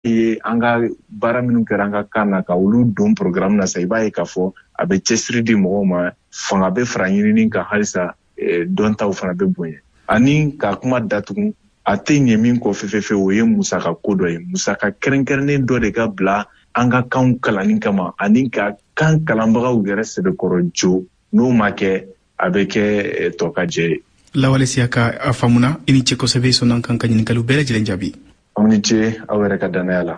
Ye an ka baara minnu kɛra an ka kan na, ka olu don programme na sa, i b'a ye k'a fɔ a bɛ cɛsiri di mɔgɔw ma, fanga bɛ fara ɲinini kan halisa, dɔntaw fana bɛ bonya. Ani ka kuma datugu, a tɛ ɲɛ min kɔ fefefe, o ye musaka ko dɔ ye. Musaka kɛrɛnkɛrɛnnen dɔ de ka bila an ka kanw kalanni kama, ani ka kan kalanbagaw yɛrɛ sɛbɛkɔrɔ jo. N'o ma kɛ, a bɛ kɛ tɔ ka jɛ ye. Lawale Siyaka, a faamuna. I ni ce kosɛbɛ, sɔnna kan ka ɲininkaliw bɛɛ lajɛlen jaabi. Aw ni ce aw yɛrɛ ka dannaya la.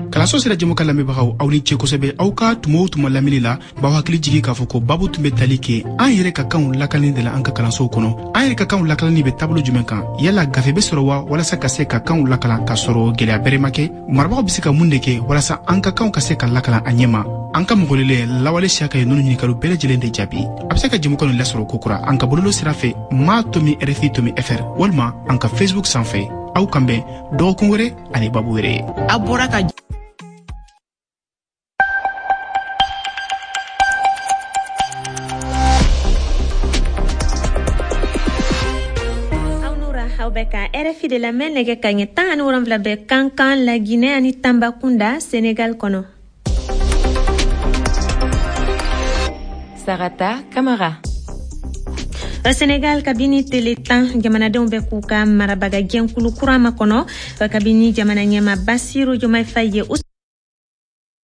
Kalanso sira jɛmukan lamɛnbagaw, aw ni ce kosɛbɛ aw ka tuma o tuma lamɛnni la. B'aw hakili jigi k'a fɔ ko babu tun bɛ tali kɛ an yɛrɛ ka kanw lakanani de la an ka kalansow kɔnɔ. An yɛrɛ ka kanw lakalanni bɛ taabolo jumɛn kan? Yala gafe bɛ sɔrɔ wa walasa ka se ka kanw lakalan k'a sɔrɔ gwɛlɛya bɛrɛ ma kɛ? Marabagaw bɛ se ka mun de kɛ walasa an ka kanw ka se ka lakalan a ɲɛma? An ka mɔgɔlelen Lawale Siyaka ye nunu ɲinikaliw bɛɛ lajɛlen de jaabi. A bɛ se ka jɛmukan nin lasɔrɔ kokura an ka bɔlɔlɔ sira fɛ, ma.rfi.fr, walima an ka Facebook sanfɛ. Aw kan bɛn dɔgɔkun wɛrɛ ani babu wɛrɛ ye. A bɔra ka Aw bɛ ka RFI de lamɛn. Nɛgɛ ka ɲɛ 17 bɛ Kankan, Laginɛ ani Tambakunda, Senegal kɔnɔ. Sarata Kamara. Senegal, kabini tele 10, jamanadenw bɛ k'u ka marabaga jɛnkulu kura makɔnɔ, kabini jamana ɲɛma Basiru Jomayi Fayi ye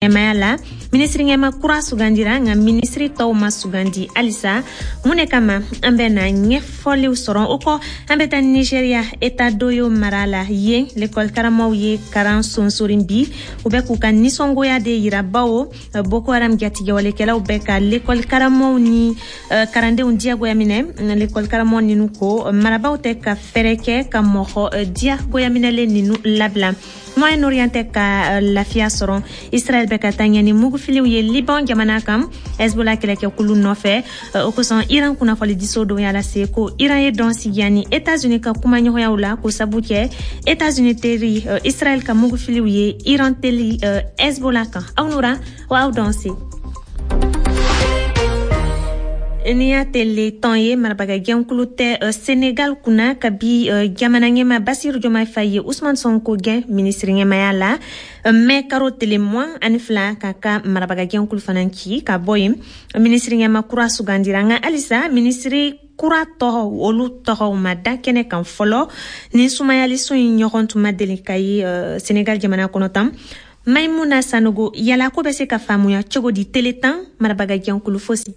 ɲɛmaya la. Minisiri ɲɛma kura sugandira, nka minisiri tɔw ma sugandi halisa. Mun de kama? An bɛ na ɲɛfɔliw sɔrɔ. O kɔ, an bɛ taa Nigeria, État d'Oyo mara la. Yen, lekɔli karamɔgɔw ye karan sonsorin bi. U bɛ k'u ka nisɔngoya de yira, bawo Boko Haram jatigɛwalekɛlaw bɛ ka lekɔli karamɔgɔw ni karandenw diyagoya minɛ. Lekɔli karamɔgɔ ninu ko marabaw tɛ ka fɛɛrɛ kɛ ka mɔgɔ diyagoya minɛlen ninu labila. Moyen Orient tɛ ka lafiya sɔrɔ. Israel bɛ ka taa ɲɛ ni mugufiliw ye Liban jamana kan, Hezbollah kɛlɛkɛkulu nɔfɛ. O kosɔn, Iran kunnafonidiso dɔ y'a lase ko Iran ye dɔn sigiya ni États-Unis ka kumaɲɔgɔnyaw la, ko sabu kɛ États-Unis teri Israel ka mugufiliw ye Iran teli Hezbollah kan. Aw nura wa aw dɔn se. Ni y'a tele tɔn ye, marabaga jɛnkulu tɛ Senegal kunna kabi jamana ɲɛma Basiru Jomayi Fayi ye Usman Sonko gɛn minisiri ɲɛmaya la mɛ karo tele 22, k'a ka marabaga jɛnkulu fana ci ka bɔ yen. Minisiri ɲɛma kura sugandira, nka halisa minisiri kura tɔgɔ, olu tɔgɔw ma da kɛnɛ kan fɔlɔ. Ni sumayaliso in ɲɔgɔn tun ma deli ka ye Senegal jamana kɔnɔ tan. Maimuna Sanogo, yala ko bɛ se ka faamuya cogo di, tele 10, marabaga jɛnkulu fosi?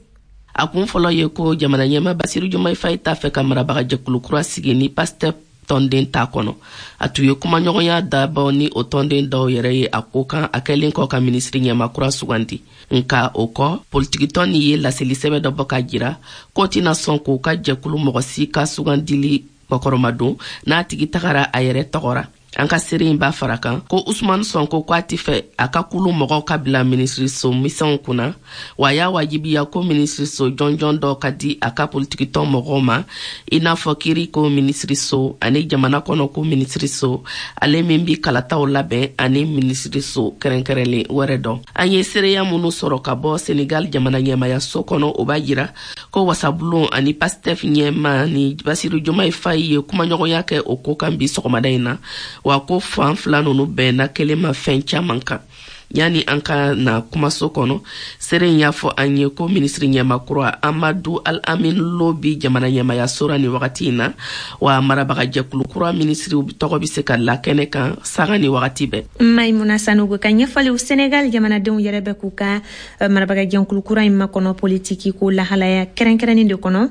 A kun fɔlɔ ye ko jamana ɲɛma Basiru Jomayi Fayi t'a fɛ ka marabaga jɛkulu kura sigi ni Pastef tɔnden t'a kɔnɔ. A tun ye kumaɲɔgɔnya dabɔ ni o tɔnden dɔw yɛrɛ ye a ko kan, a kɛlen kɔ ka minisiri ɲɛma kura sugandi. Nka o kɔ, politikitɔn nin ye laseli sɛbɛ dɔ bɔ k'a jira k'o tɛna sɔn k'o ka jɛkulu mɔgɔ si ka sugandili kɔkɔrɔmadon n'a tigi tagara a yɛrɛ tɔgɔ ra. An ka seere in b'a fara kan ko Usman Sonko ko a tɛ fɛ a ka kulu mɔgɔw ka bila minisiriso misɛnw kunna, wa a y'a wajibiya ko minisiriso jɔnjɔn dɔ ka di a ka politikitɔn mɔgɔw ma, i n'a fɔ kiiri ko minisiriso ani jamana kɔnɔ ko minisiriso, ale min bi kalataw labɛn, ani minisiriso kɛrɛnkɛrɛnlen wɛrɛ dɔ. An ye seereya minnu sɔrɔ ka bɔ Senegal jamana ɲɛmayaso kɔnɔ, o b'a jira ko wasabulon ani Pastef ɲɛma ni Basiru Jomayi Fayi ye kumaɲɔgɔnya kɛ o ko kan bi sɔgɔmada in na, wa ko fan fila nunu bɛnna kelen ma fɛn caman kan. Yanni an ka na kumaso kɔnɔ, seere in y'a fɔ an ye ko minisiri ɲɛma kura Amadu Al Amin Lo bi jamana ɲɛmayaso ra nin wagati in na, wa marabaga jɛkulu kura minisiriw tɔgɔ bɛ se ka la kɛnɛ kan sanga ni wagati bɛɛ. Maimuna Sanogo ka ɲɛfɔliw. Senegal jamanadenw yɛrɛ bɛ k'u ka marabaga jɛnkulu kura in makɔnɔ politiki ko lahalaya kɛrɛnkɛrɛnnin de kɔnɔ,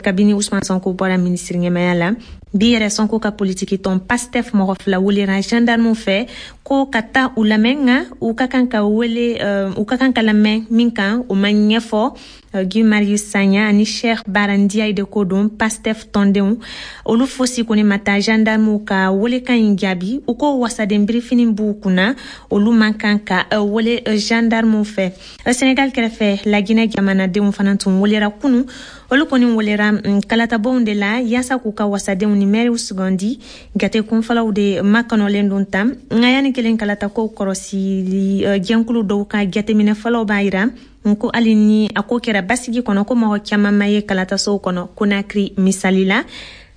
kabini Usman Sonko bɔra minisiri ɲɛmaya la. Bi yɛrɛ, Sonko ka politiki tɔn Pastef mɔgɔ fila welera gendarmew fɛ ko ka taa u lamɛn, nka u ka kan ka wele, u ka kan ka lamɛn min kan, o ma ɲɛfɔ. Guy Marius Sagna ani Cheikh Bara Ndiaye de ko don, Pastef tɔndenw. Olu fosi kɔni ma taa gendarmew ka welekan in jaabi. U ko wasaden birifini b'u kunna, olu man kan ka wele gendarmew fɛ. Senegal kɛrɛfɛ, Laginɛ jamanadenw fana tun welera kunu. Olu kɔni welera kalatabonw de la yaasa k'u ka wasadenw ni mɛriw sugandi. Gate kunfɔlɔw de makɔnɔlen don tan, nka yanni kelen, kalatakow kɔrɔsili jɛnkulu dɔw ka jateminɛ fɔlɔw b'a yira ko hali ni a ko kɛra basigi kɔnɔ, ko mɔgɔ caman ma ye kalatasow kɔnɔ Konakiri misali la.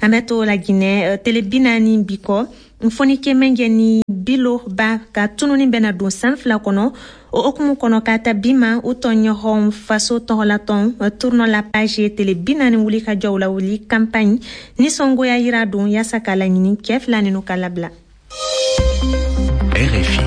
An bɛ to Laginɛ, tele 40 bi kɔ. Fonike Mengue ni Bilo Ba ka tununi bɛna don san 2 kɔnɔ. O hukumu kɔnɔ, k'a ta bi ma, u tɔɲɔgɔn faso tɔgɔlatɔn Tournons la page ye tele 40 wuli ka jɔw la wuli campagne nisɔngoya yira don yaasa k'a laɲini cɛɛ fila ninu ka labila. RFI.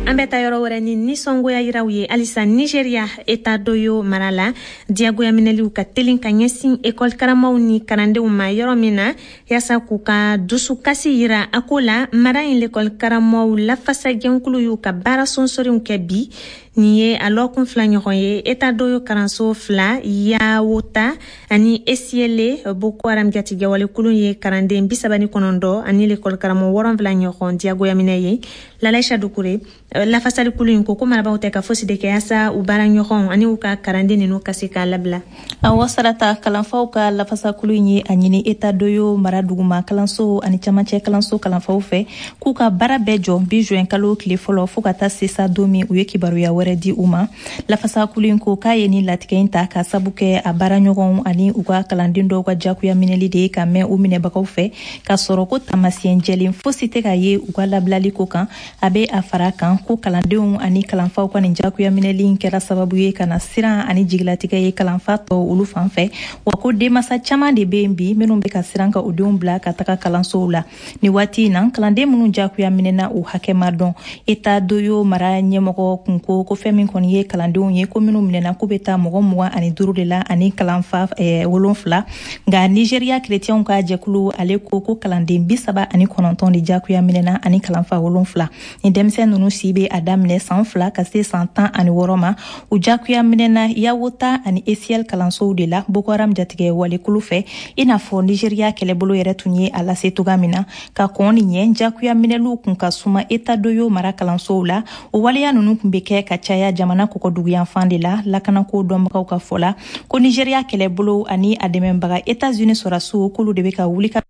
An bɛ taa yɔrɔ wɛrɛ ni nisɔngoya yiraw ye halisa. Nigeria, État d'Oyo mara la, diyagoya minɛliw ka telin ka ɲɛsin ekɔli karamɔgɔw ni kalandenw ma yɔrɔ min na, yaasa k'u ka dusukasi yira a ko la. Mara in lekɔli karamɔgɔw lafasajɛnkulu y'u ka baara sonsoriw kɛ bi. Nin ye a lɔkun fila ɲɔgɔn ye. État d'Oyo kalanso fila, Yawota ani Esiele, Boko Haram jatigɛwalekulu ye kalanden 39 ani lekɔli karamɔgɔ 70 ɲɔgɔn diyagoya minɛ ye. Lalaisa Dukure, lafasalikulu in ko ko marabaw tɛ ka fosi de kɛ yaasa u baara ɲɔgɔn ani u ka kalanden ninu ka se k'a labila. Awɔ Sarata, kalanfaw ka lafasakulu in ye a ɲini État d'Oyo mara duguma kalanso ani camancɛ kalanso kalanfaw fɛ k'u ka baara bɛɛ jɔ bi juin kalo tile fɔlɔ, fɔɔ ka taa sesa don min u ye kibaruya wɛrɛ di u ma. Lafasakulu in ko k'a ye nin latigɛ in ta ka sabu kɛ a baara ɲɔgɔnw ani u ka kalanden dɔw ka jagoya minɛli de ye ka mɛn u minɛbagaw fɛ, k'a sɔrɔ ko taamasiyɛn jɛlen fosi tɛ ka ye u ka labilali ko kan. A bɛ a fara kan ko kalandenw ani kalanfaw ka nin jagoya minɛli in kɛra sababu ye ka na siran ani jigilatigɛ ye kalanfa tɔw olu fan fɛ, wa ko denmasa caman de bɛ yen bi minnu bɛ ka siran ka u denw bila ka taga kalansow la nin waati in na. Kalanden minnu jagoya minɛna, u hakɛ ma dɔn. État d'Oyo mara ɲɛmɔgɔ kun ko ko fɛn min kɔni ye kalandenw ye ko minnu minɛna, k'u bɛ taa mɔgɔ 25 de la ani kalanfa 7. Nka Nigeriya kerecɛnw ka jɛkulu, ale ko ko kalanden 39 de jagoya minɛna ani kalanfa 7. Ni denmisɛn ninnu si bɛ a daminɛ san 2 ka se san 16 ma, u jagoya minɛna Yawota ani Esiel kalansow de la Boko Haram jatigɛ walekulu fɛ, i n'a fɔ Nigeriya kɛlɛbolo yɛrɛ tun ye a lase toga min na ka kɔn nin ɲɛ. Jagoya minɛliw kun ka suma État d'Oyo mara kalansow la. O waleya ninnu kun bɛ kɛ ka caya jamana kɔkɔduguyanfan de la. Lakanako dɔnbagaw ka fɔ la ko Nigeriya kɛlɛbolo ani a dɛmɛbaga Etats-Unis sɔrɔdasiw, k'olu de bɛ ka wuli ka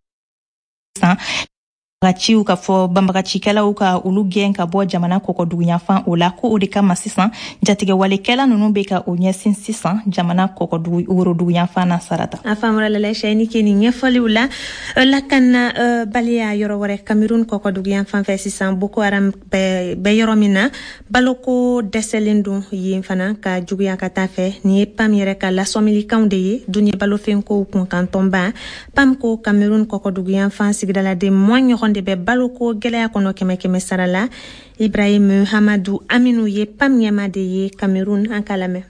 san ciw ka fɔ banbagacikɛlaw ka olu gɛn ka bɔ jamana kɔkɔduguyanfan o la, ko o de kama sisan jatigɛwalekɛla ninnu bɛ ka o ɲɛsin sisan jamana kɔkɔdugu woroduguyanfan na, Sarata. A faamura Lalaisa, i ni ke nin ɲɛfɔliw la. Lakana baliya yɔrɔ wɛrɛ, Cameroun kɔkɔduguyanfan fɛ sisan, Boko Haram bɛ yɔrɔ min na, baloko dɛsɛlen don yen fana ka juguya ka taa fɛ. Nin ye PAM yɛrɛ ka lasɔmilikanw de ye, duniɲɛ balofɛnkow kunkantɔnba. PAM ko Cameroun kɔkɔduguyanfan sigidaladen 20 ɲɔgɔn de bɛ baloko gɛlɛya kɔnɔ kɛmɛ kɛmɛ sara la. Ibrahim Hamadu Aminu ye PAM ɲɛma de ye Cameroun, an k'a lamɛn.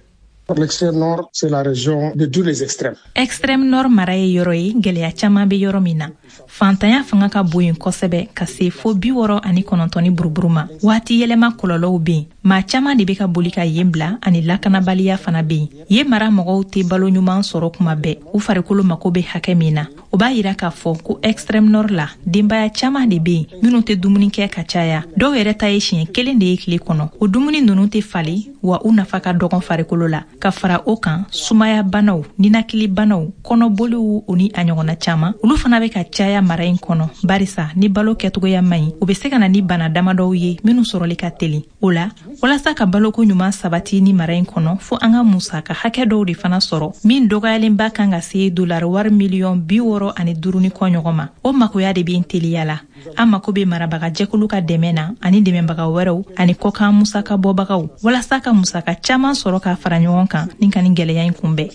L'extrême nord, c'est la région de tous les extrêmes. Extrême nord mara ye yɔrɔ ye gɛlɛya caman bɛ yɔrɔ min na. Fantanya fanga ka bon yen kosɛbɛ ka se fo 69 ni buruburu ma. Waati yɛlɛma kɔlɔlɔw bɛ yen, maa caman de bɛ ka boli ka yen bila, ani lakanabaliya fana bɛ yen. Yen mara mɔgɔw tɛ balo ɲuman sɔrɔ kuma bɛɛ, u farikolo mako bɛ hakɛ min na. O b'a yira k'a fɔ ko extrême nord la, denbaya caman de bɛ yen minnu tɛ dumuni kɛ ka caya. Dɔw yɛrɛ ta ye siɲɛ kelen de ye tile kɔnɔ. O dumuni ninnu tɛ falen, wa u nafa ka dɔgɔn farikolo la. Ka fara o kan, sumaya banaw, ninakili banaw, kɔnɔboliw, o ni a ɲɔgɔnna caman, olu fana bɛ ka caya mara in kɔnɔ, barisa ni balo kɛcogoya man ɲi, o bɛ se ka na ni bana damadɔw ye minnu sɔrɔli ka teli. O la, walasa ka baloko ɲuman sabati ni mara in kɔnɔ, fo an ka musaka hakɛ dɔw de fana sɔrɔ min dɔgɔyalenba kan ka se dolari wari miliyɔn 65 ni kɔ ɲɔgɔn ma. O makoya de bɛ teliya la. An mako bɛ marabaga jɛkulu ka dɛmɛ na ani dɛmɛbaga wɛrɛw ani kɔkan musaka bɔbagaw, walasa ka musaka caman sɔrɔ k'a fara ɲɔgɔn kan ni ka nin gwɛlɛya in kunbɛn.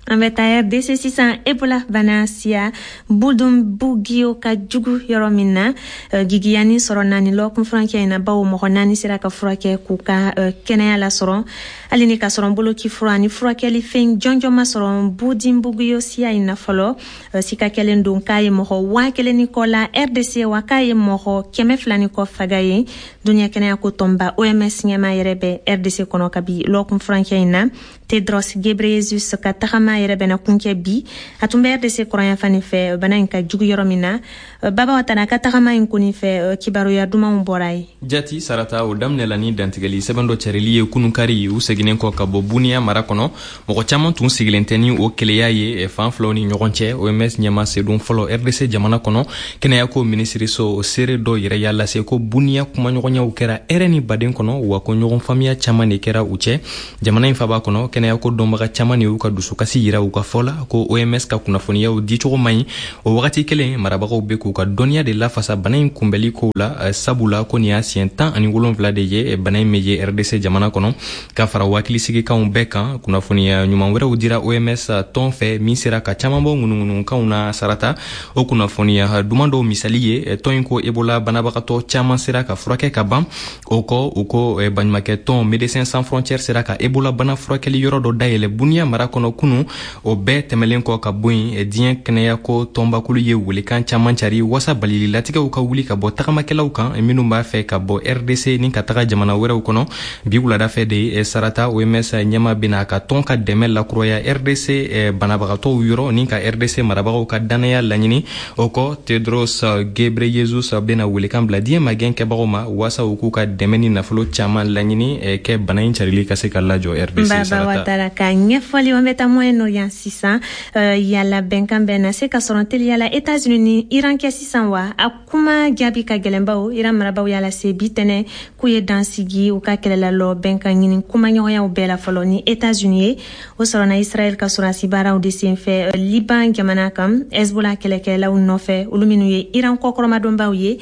An bɛ taa RDC sisan, Ebola bana siya Bundibugyo ka jugu yɔrɔ min na. Gigiyani sɔrɔ naani lɔkun furancɛ in na, bawo mɔgɔ naani sera ka furakɛ k'u ka kɛnɛya lasɔrɔ, hali ni ka sɔrɔ boloci fura ni furakɛli fɛn jɔnjɔn ma sɔrɔ Bundibugyo siya in na fɔlɔ. Sika kɛlen don k'a ye mɔgɔ 1000 ni kɔ la RDC, wa k'a ye mɔgɔ 200 ni kɔ faga ye. Duniɲɛ kɛnɛya ko tɔnba OMS ɲɛma yɛrɛ bɛ RDC kɔnɔ kabi lɔkun furancɛ in na. Tedros Ghebreyesus ka tagama yɛrɛ bɛna kuncɛ bi. A tun bɛ RDC kɔrɔnyanfan nin fɛ, bana in ka jugu yɔrɔ min na. Baba Watara ka tagama in kɔni fɛ, kibaruya dumanw bɔra ye. Jati Sarata, o daminɛla ni dantigɛli sɛbɛn dɔ cɛrili ye kununkari, u seginnen kɔ ka bɔ Buniya mara kɔnɔ. Mɔgɔ caman tun sigilen tɛ ni o keleya ye fan filaw ni ɲɔgɔn cɛ. OMS ɲɛma sedon fɔlɔ RDC jamana kɔnɔ, kɛnɛyako minisiriso o seere dɔ yɛrɛ y'a lase ko Buniya kumaɲɔgɔnyaw kɛra hɛrɛ ni baden kɔnɔ, wa ko ɲɔgɔn faamuya caman de kɛra u cɛ. Jamana in faba kɔnɔ, kɛnɛya kɛnɛyako dɔnbaga caman de y'u ka dusukasi yira u ka fɔ la ko OMS ka kunnafoniyaw dicogo man ɲi. O wagati kelen, marabagaw bɛ k'u ka dɔnniya de lafasa bana in kunbɛli kow la, sabula ko nin y'a siɲɛ 17 de ye bana in bɛ ye RDC jamana kɔnɔ. Ka fara hakilisigikanw bɛɛ kan, kunnafoniya ɲuman wɛrɛw dira OMS tɔn fɛ min sera ka caman bɔ ŋunuŋunukanw na. Sarata, o kunnafoniya duman dɔw misali ye, tɔn in ko Ebola banabagatɔ caman sera ka furakɛ ka ban. O kɔ, u ko baɲumakɛ tɔn Médecins Sans Frontières sera ka Ebola bana furakɛli yɔrɔ dɔ dayɛlɛ Bunia mara kɔnɔ kunu. O bɛɛ tɛmɛlen kɔ ka bɔ yen, diɲɛ kɛnɛyako tɔnbakulu ye welekan caman cari wasa balili latigɛw ka wuli ka bɔ tagamakɛlaw kan minnu b'a fɛ ka bɔ RDC ni ka taga jamana wɛrɛw kɔnɔ. Bi wulada fɛ de, Sarata, OMS ɲɛma bɛna a ka tɔn ka dɛmɛ lakuraya RDC banabagatɔw yɔrɔ ni ka RDC marabagaw ka dannaya laɲini. O kɔ, Tedros Ghebreyesus bɛna welekan bila diɲɛ magɛn kɛbagaw ma wasa u k'u ka dɛmɛ ni nafolo caman laɲini kɛ bana in carili ka se ka lajɔ RDC. Baba Watara ka ɲɛfɔli. An bɛ taa Moyen-Orient sisan. Yala bɛnkan bɛ na se ka sɔrɔ teliyala États-Unis ni Iran kɛ sisan wa? A kuma jaabi ka gɛlɛn, bawo Iran marabaw y'a lase bi tɛnɛ k'u ye dan sigi u ka kɛlɛlalɔ bɛnkan ɲini kumaɲɔgɔnyaw bɛɛ la fɔlɔ ni États-Unis ye. O sɔrɔna Israël ka sɔrɔdasi baaraw de senfɛ Liban jamana kan, Hezbollah kɛlɛkɛlaw nɔfɛ, olu minnu ye Iran kɔkɔrɔmadonbaw ye.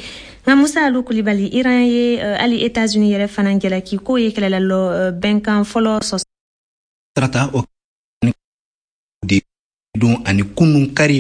Nka Musa Alu Kulibali, Iran ye hali États-Unis yɛrɛ fana jalaki k'o ye kɛlɛlalɔ bɛnkan fɔlɔ sɔsɔ. Sarata, o de don ani kunun kari,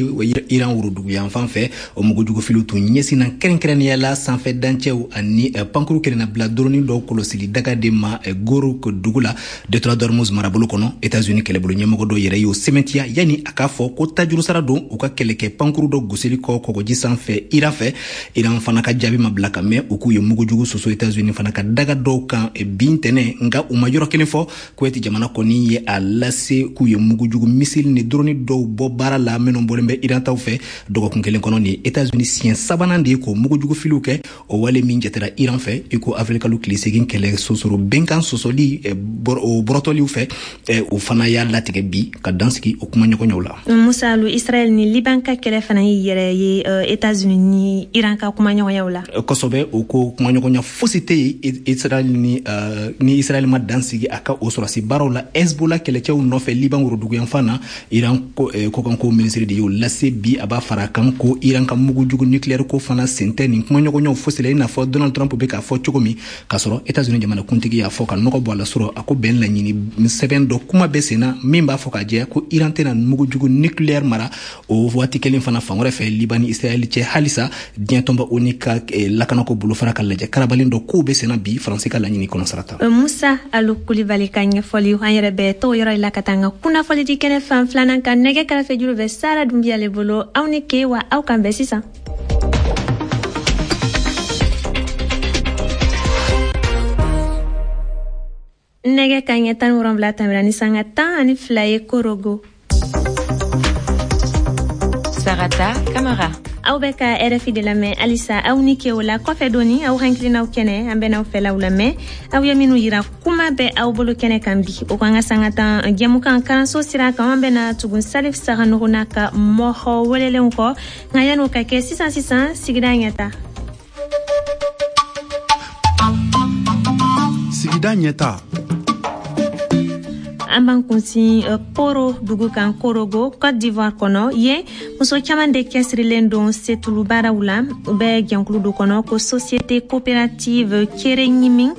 Iran worodugu yanfan fɛ, o mugujugufiliw tun ɲɛsinna kɛrɛnkɛrɛnnenya la sanfɛ dancɛw ani pankuru kelenna bila doroni dɔw kɔlɔsili daga de ma Goro dugu la, détroit d'Ormuz marabolo kɔnɔ. États-Unis kɛlɛbolo ɲɛmɔgɔ dɔ yɛrɛ y'o sɛmɛntiya yanni a k'a fɔ ko tajurusara don u ka kɛlɛkɛ pankuru dɔ gosili kɔ kɔgɔji sanfɛ Iran fɛ. Iran fana ka jaabi ma bila ka mɛn. U k'u ye mugujugu soso États-Unis fana ka daga dɔw kan bin tɛnɛ, nka u ma yɔrɔ kelen fɔ. Kuwait jamana kɔni ye a lase k'u ye mugujugu misili ni doroni dɔw bɔ baara la minnu bɔlen bɛ Iran taw fɛ dɔgɔkun kelen kɔnɔ. Nin États-Unis siɲɛ sabanan de ye k'o mugujugu filiw kɛ, o wale min jatera Iran fɛ i ko avril kalo tile 8 kɛlɛ sosoro bɛnkan sɔsɔli o bɔrɔtɔliw fɛ. O fana y'a latigɛ bi ka dansigi o kumaɲɔgɔnyaw la. Musa Alu, Israël ni Liban ka kɛlɛ fana y'i yɛrɛ ye États-Unis ni Iran ka kumaɲɔgɔnyaw la. Kosɛbɛ. O ko kumaɲɔgɔnya fosi tɛ yen Israël ni Israël ma dansigi a ka o sɔrɔsi baaraw la Hezbollah kɛlɛcɛw nɔfɛ Liban woroduguyanfan na. Iran kɔkanko minisiri de y'o lase bi. A b'a fara kan ko Iran ka mugujugu nucléaire ko fana sen tɛ nin kumaɲɔgɔnyaw fosi la, i n'a fɔ Donald Trump bɛ k'a fɔ cogo min, k'a sɔrɔ États-Unis jamanakuntigi y'a fɔ ka nɔgɔ bɔ a la sɔrɔ a ko bɛn laɲini sɛbɛn dɔ kuma bɛ sen na min b'a fɔ k'a jɛ ko Iran tɛna mugujugu nucléaire mara. O waati kelen fana, fan wɛrɛ fɛ, Liban ni Israël cɛ halisa, diɲɛ tɔnba ONU ka lakanako bolofara ka lajɛ karabalen dɔ kow bɛ senna bi, Faransi ka laɲini kɔnɔ, Sarata. Musa Alu Kulibali ka ɲɛfɔli. An yɛrɛ bɛ t'o yɔrɔ la ka taa an ka kunnafoli di kɛnɛ fan filanan kan. Nɛgɛ kɛrɛfɛ juru bɛ Sara Dunbiya le bolo. Aw ni ke wa, aw kan bɛn sisan. Nɛgɛ ka ɲɛ 17 tɛmɛra ni sanga 12 ye Korogo. Sarata Kamara. Aw bɛ ka RFI de lamɛn halisa. Aw ni ke. O la kɔfɛ doni, aw hakilinaw kɛnɛ, an bɛn'aw fɛlaw lamɛn, aw ye minnu yira. Kuma bɛ aw bolo kɛnɛ kan bi, o kan ka sanga 10 jɛmukan karanso sira kan, an bɛna tugun Salif Saganogo n'a ka mɔgɔ welelenw kɔ. Nka yan'o ka kɛ, sisan sisan, sigida ɲɛta. Sigida ɲɛta. An b'an kunsin Poro dugu kan, Korogo, Côte d'Ivoire kɔnɔ. Yen muso caman de cɛsirilen don setulu baaraw la. U bɛ jɛnkulu dɔ kɔnɔ ko Société coopérative Kere Ɲimi.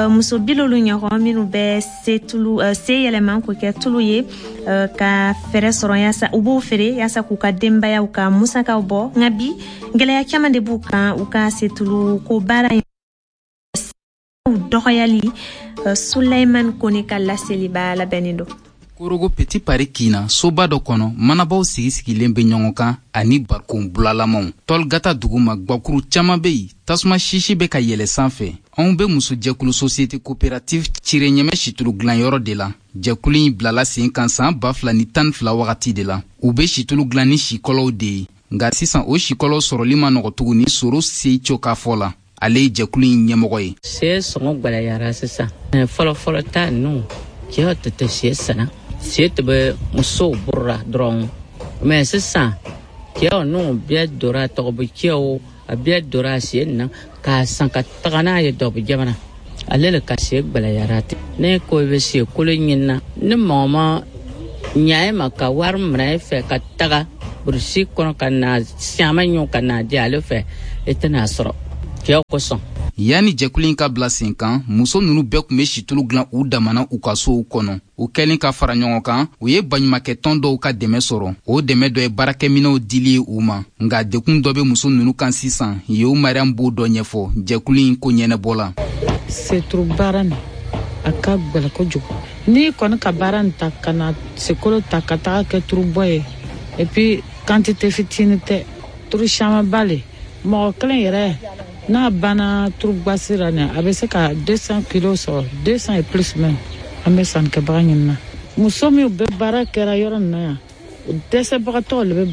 Muso 70 ɲɔgɔn minnu bɛ setulu se yɛlɛma k'o kɛ tulu ye ka fɛɛrɛ sɔrɔ yaasa u b'o feere yaasa k'u ka denbayaw ka musakaw bɔ. Nka bi, gɛlɛya caman de b'u kan u ka setulu ko baara in dɔgɔyali. Sulaiman Kone ka laseliba labɛnnen don. Korogo Petit Paris kina soba dɔ kɔnɔ, manabaw sigi sigilen bɛ ɲɔgɔn kan ani barikon bulalamaw. Tɔlgata duguma, gwakuru caman bɛ yen, tasuma sisi bɛ ka yɛlɛ sanfɛ. Anw bɛ musojɛkulu Société coopérative Cire Ɲɛmɛ situlu dilanyɔrɔ de la. Jɛkulu in bilala sen kan san 2012 wagati de la. U bɛ situlu dilan ni sikɔlɔw de ye, nka sisan o sikɔlɔw sɔrɔli ma nɔgɔ tuguni. Soro Seico ka fɔ la, ale ye jɛkulu in ɲɛmɔgɔ ye. Sɛ sɔngɔ gwɛlɛyara sisan. Fɔlɔ fɔlɔ ta ninnu, cɛw tɛ tɛ sɛ sanna, sɛ tɛ bɛ musow bɔrɔra dɔrɔn, mɛ sisan cɛw ninnu bɛɛ donna tɔgɔbɔ, cɛw a bɛɛ donna sɛ nin na k'a san ka taga n'a ye dɔbɔ jamana. Ale le ka se gbɛlɛyara ten. Ne ko i bɛ se kolo ɲinina ni mɔgɔ ma ɲa e ma ka wari minɛ e fɛ ka taga burusi kɔnɔ ka na siaman ɲɔ ka na di ale fɛ, e tɛna sɔrɔ cɛw kosɔn. Yanni jɛkulu in ka bila sen kan, muso ninnu bɛɛ tun bɛ situlu dilan u damana u ka sow kɔnɔ. U kɛlen ka fara ɲɔgɔn kan, u ye baɲumakɛtɔn dɔw ka dɛmɛ sɔrɔ. O dɛmɛ dɔ ye baarakɛminɛw dili ye u ma. Nka dekun dɔ bɛ muso ninnu kan sisan. Yehu Mariam b'o dɔ ɲɛfɔ jɛkulu in ko ɲɛnɛbɔ la. Seturu baara nin, a ka gwɛlɛ kojugu. N'i kɔni ka baara nin ta ka na sekolo ta ka taga kɛ turubɔ ye, et puis quantité fitinin tɛ, turu camanba le. Mɔgɔ kelen yɛrɛ n'a banna turubasi la nin, a bɛ se ka 200 kilos sɔrɔ, 200 et plus même. An bɛ sannikɛbaga ɲinina. Muso minnu bɛ baara kɛra yɔrɔ nin na yan, dɛsɛbagatɔw le bɛ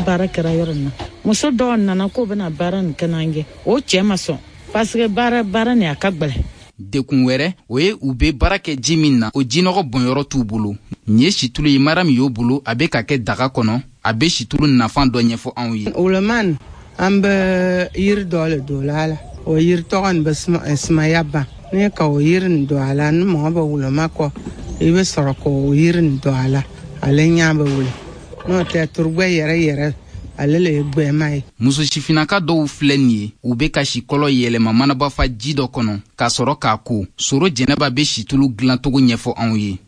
baara kɛra yɔrɔ nin na. Muso dɔw nana k'o bɛna baara nin kɛ n'an ye, o cɛ ma sɔn parce que baara nin a ka gwɛlɛ. Dekun wɛrɛ, o ye u bɛ baara kɛ ji min na, o jinɔgɔ bɔnyɔrɔ t'u bolo. Nin ye situlu ye Mariam y'o bolo, a bɛ ka kɛ daga kɔnɔ. A bɛ situlu nafan dɔ ɲɛfɔ anw ye. Woloman, an bɛ yiri dɔ le don a la, o yiri tɔgɔ nin bɛ sumaya ban. N'i ka o yiri nin don a la, ni mɔgɔ bɛ woloma kɔ, i bɛ sɔrɔ k'o yiri nin don a la, ale ɲɛ bɛ wuli. N'o tɛ, turugbɛ yɛrɛ yɛrɛ, ale le ye gbɛma ye. Muso sifinnaka dɔw filɛ nin ye, u bɛ ka sikɔlɔ yɛlɛma manabafa ji dɔ kɔnɔ ka sɔrɔ k'a ko. Soro Jɛnɛba bɛ situlu dilancogo ɲɛfɔ anw ye.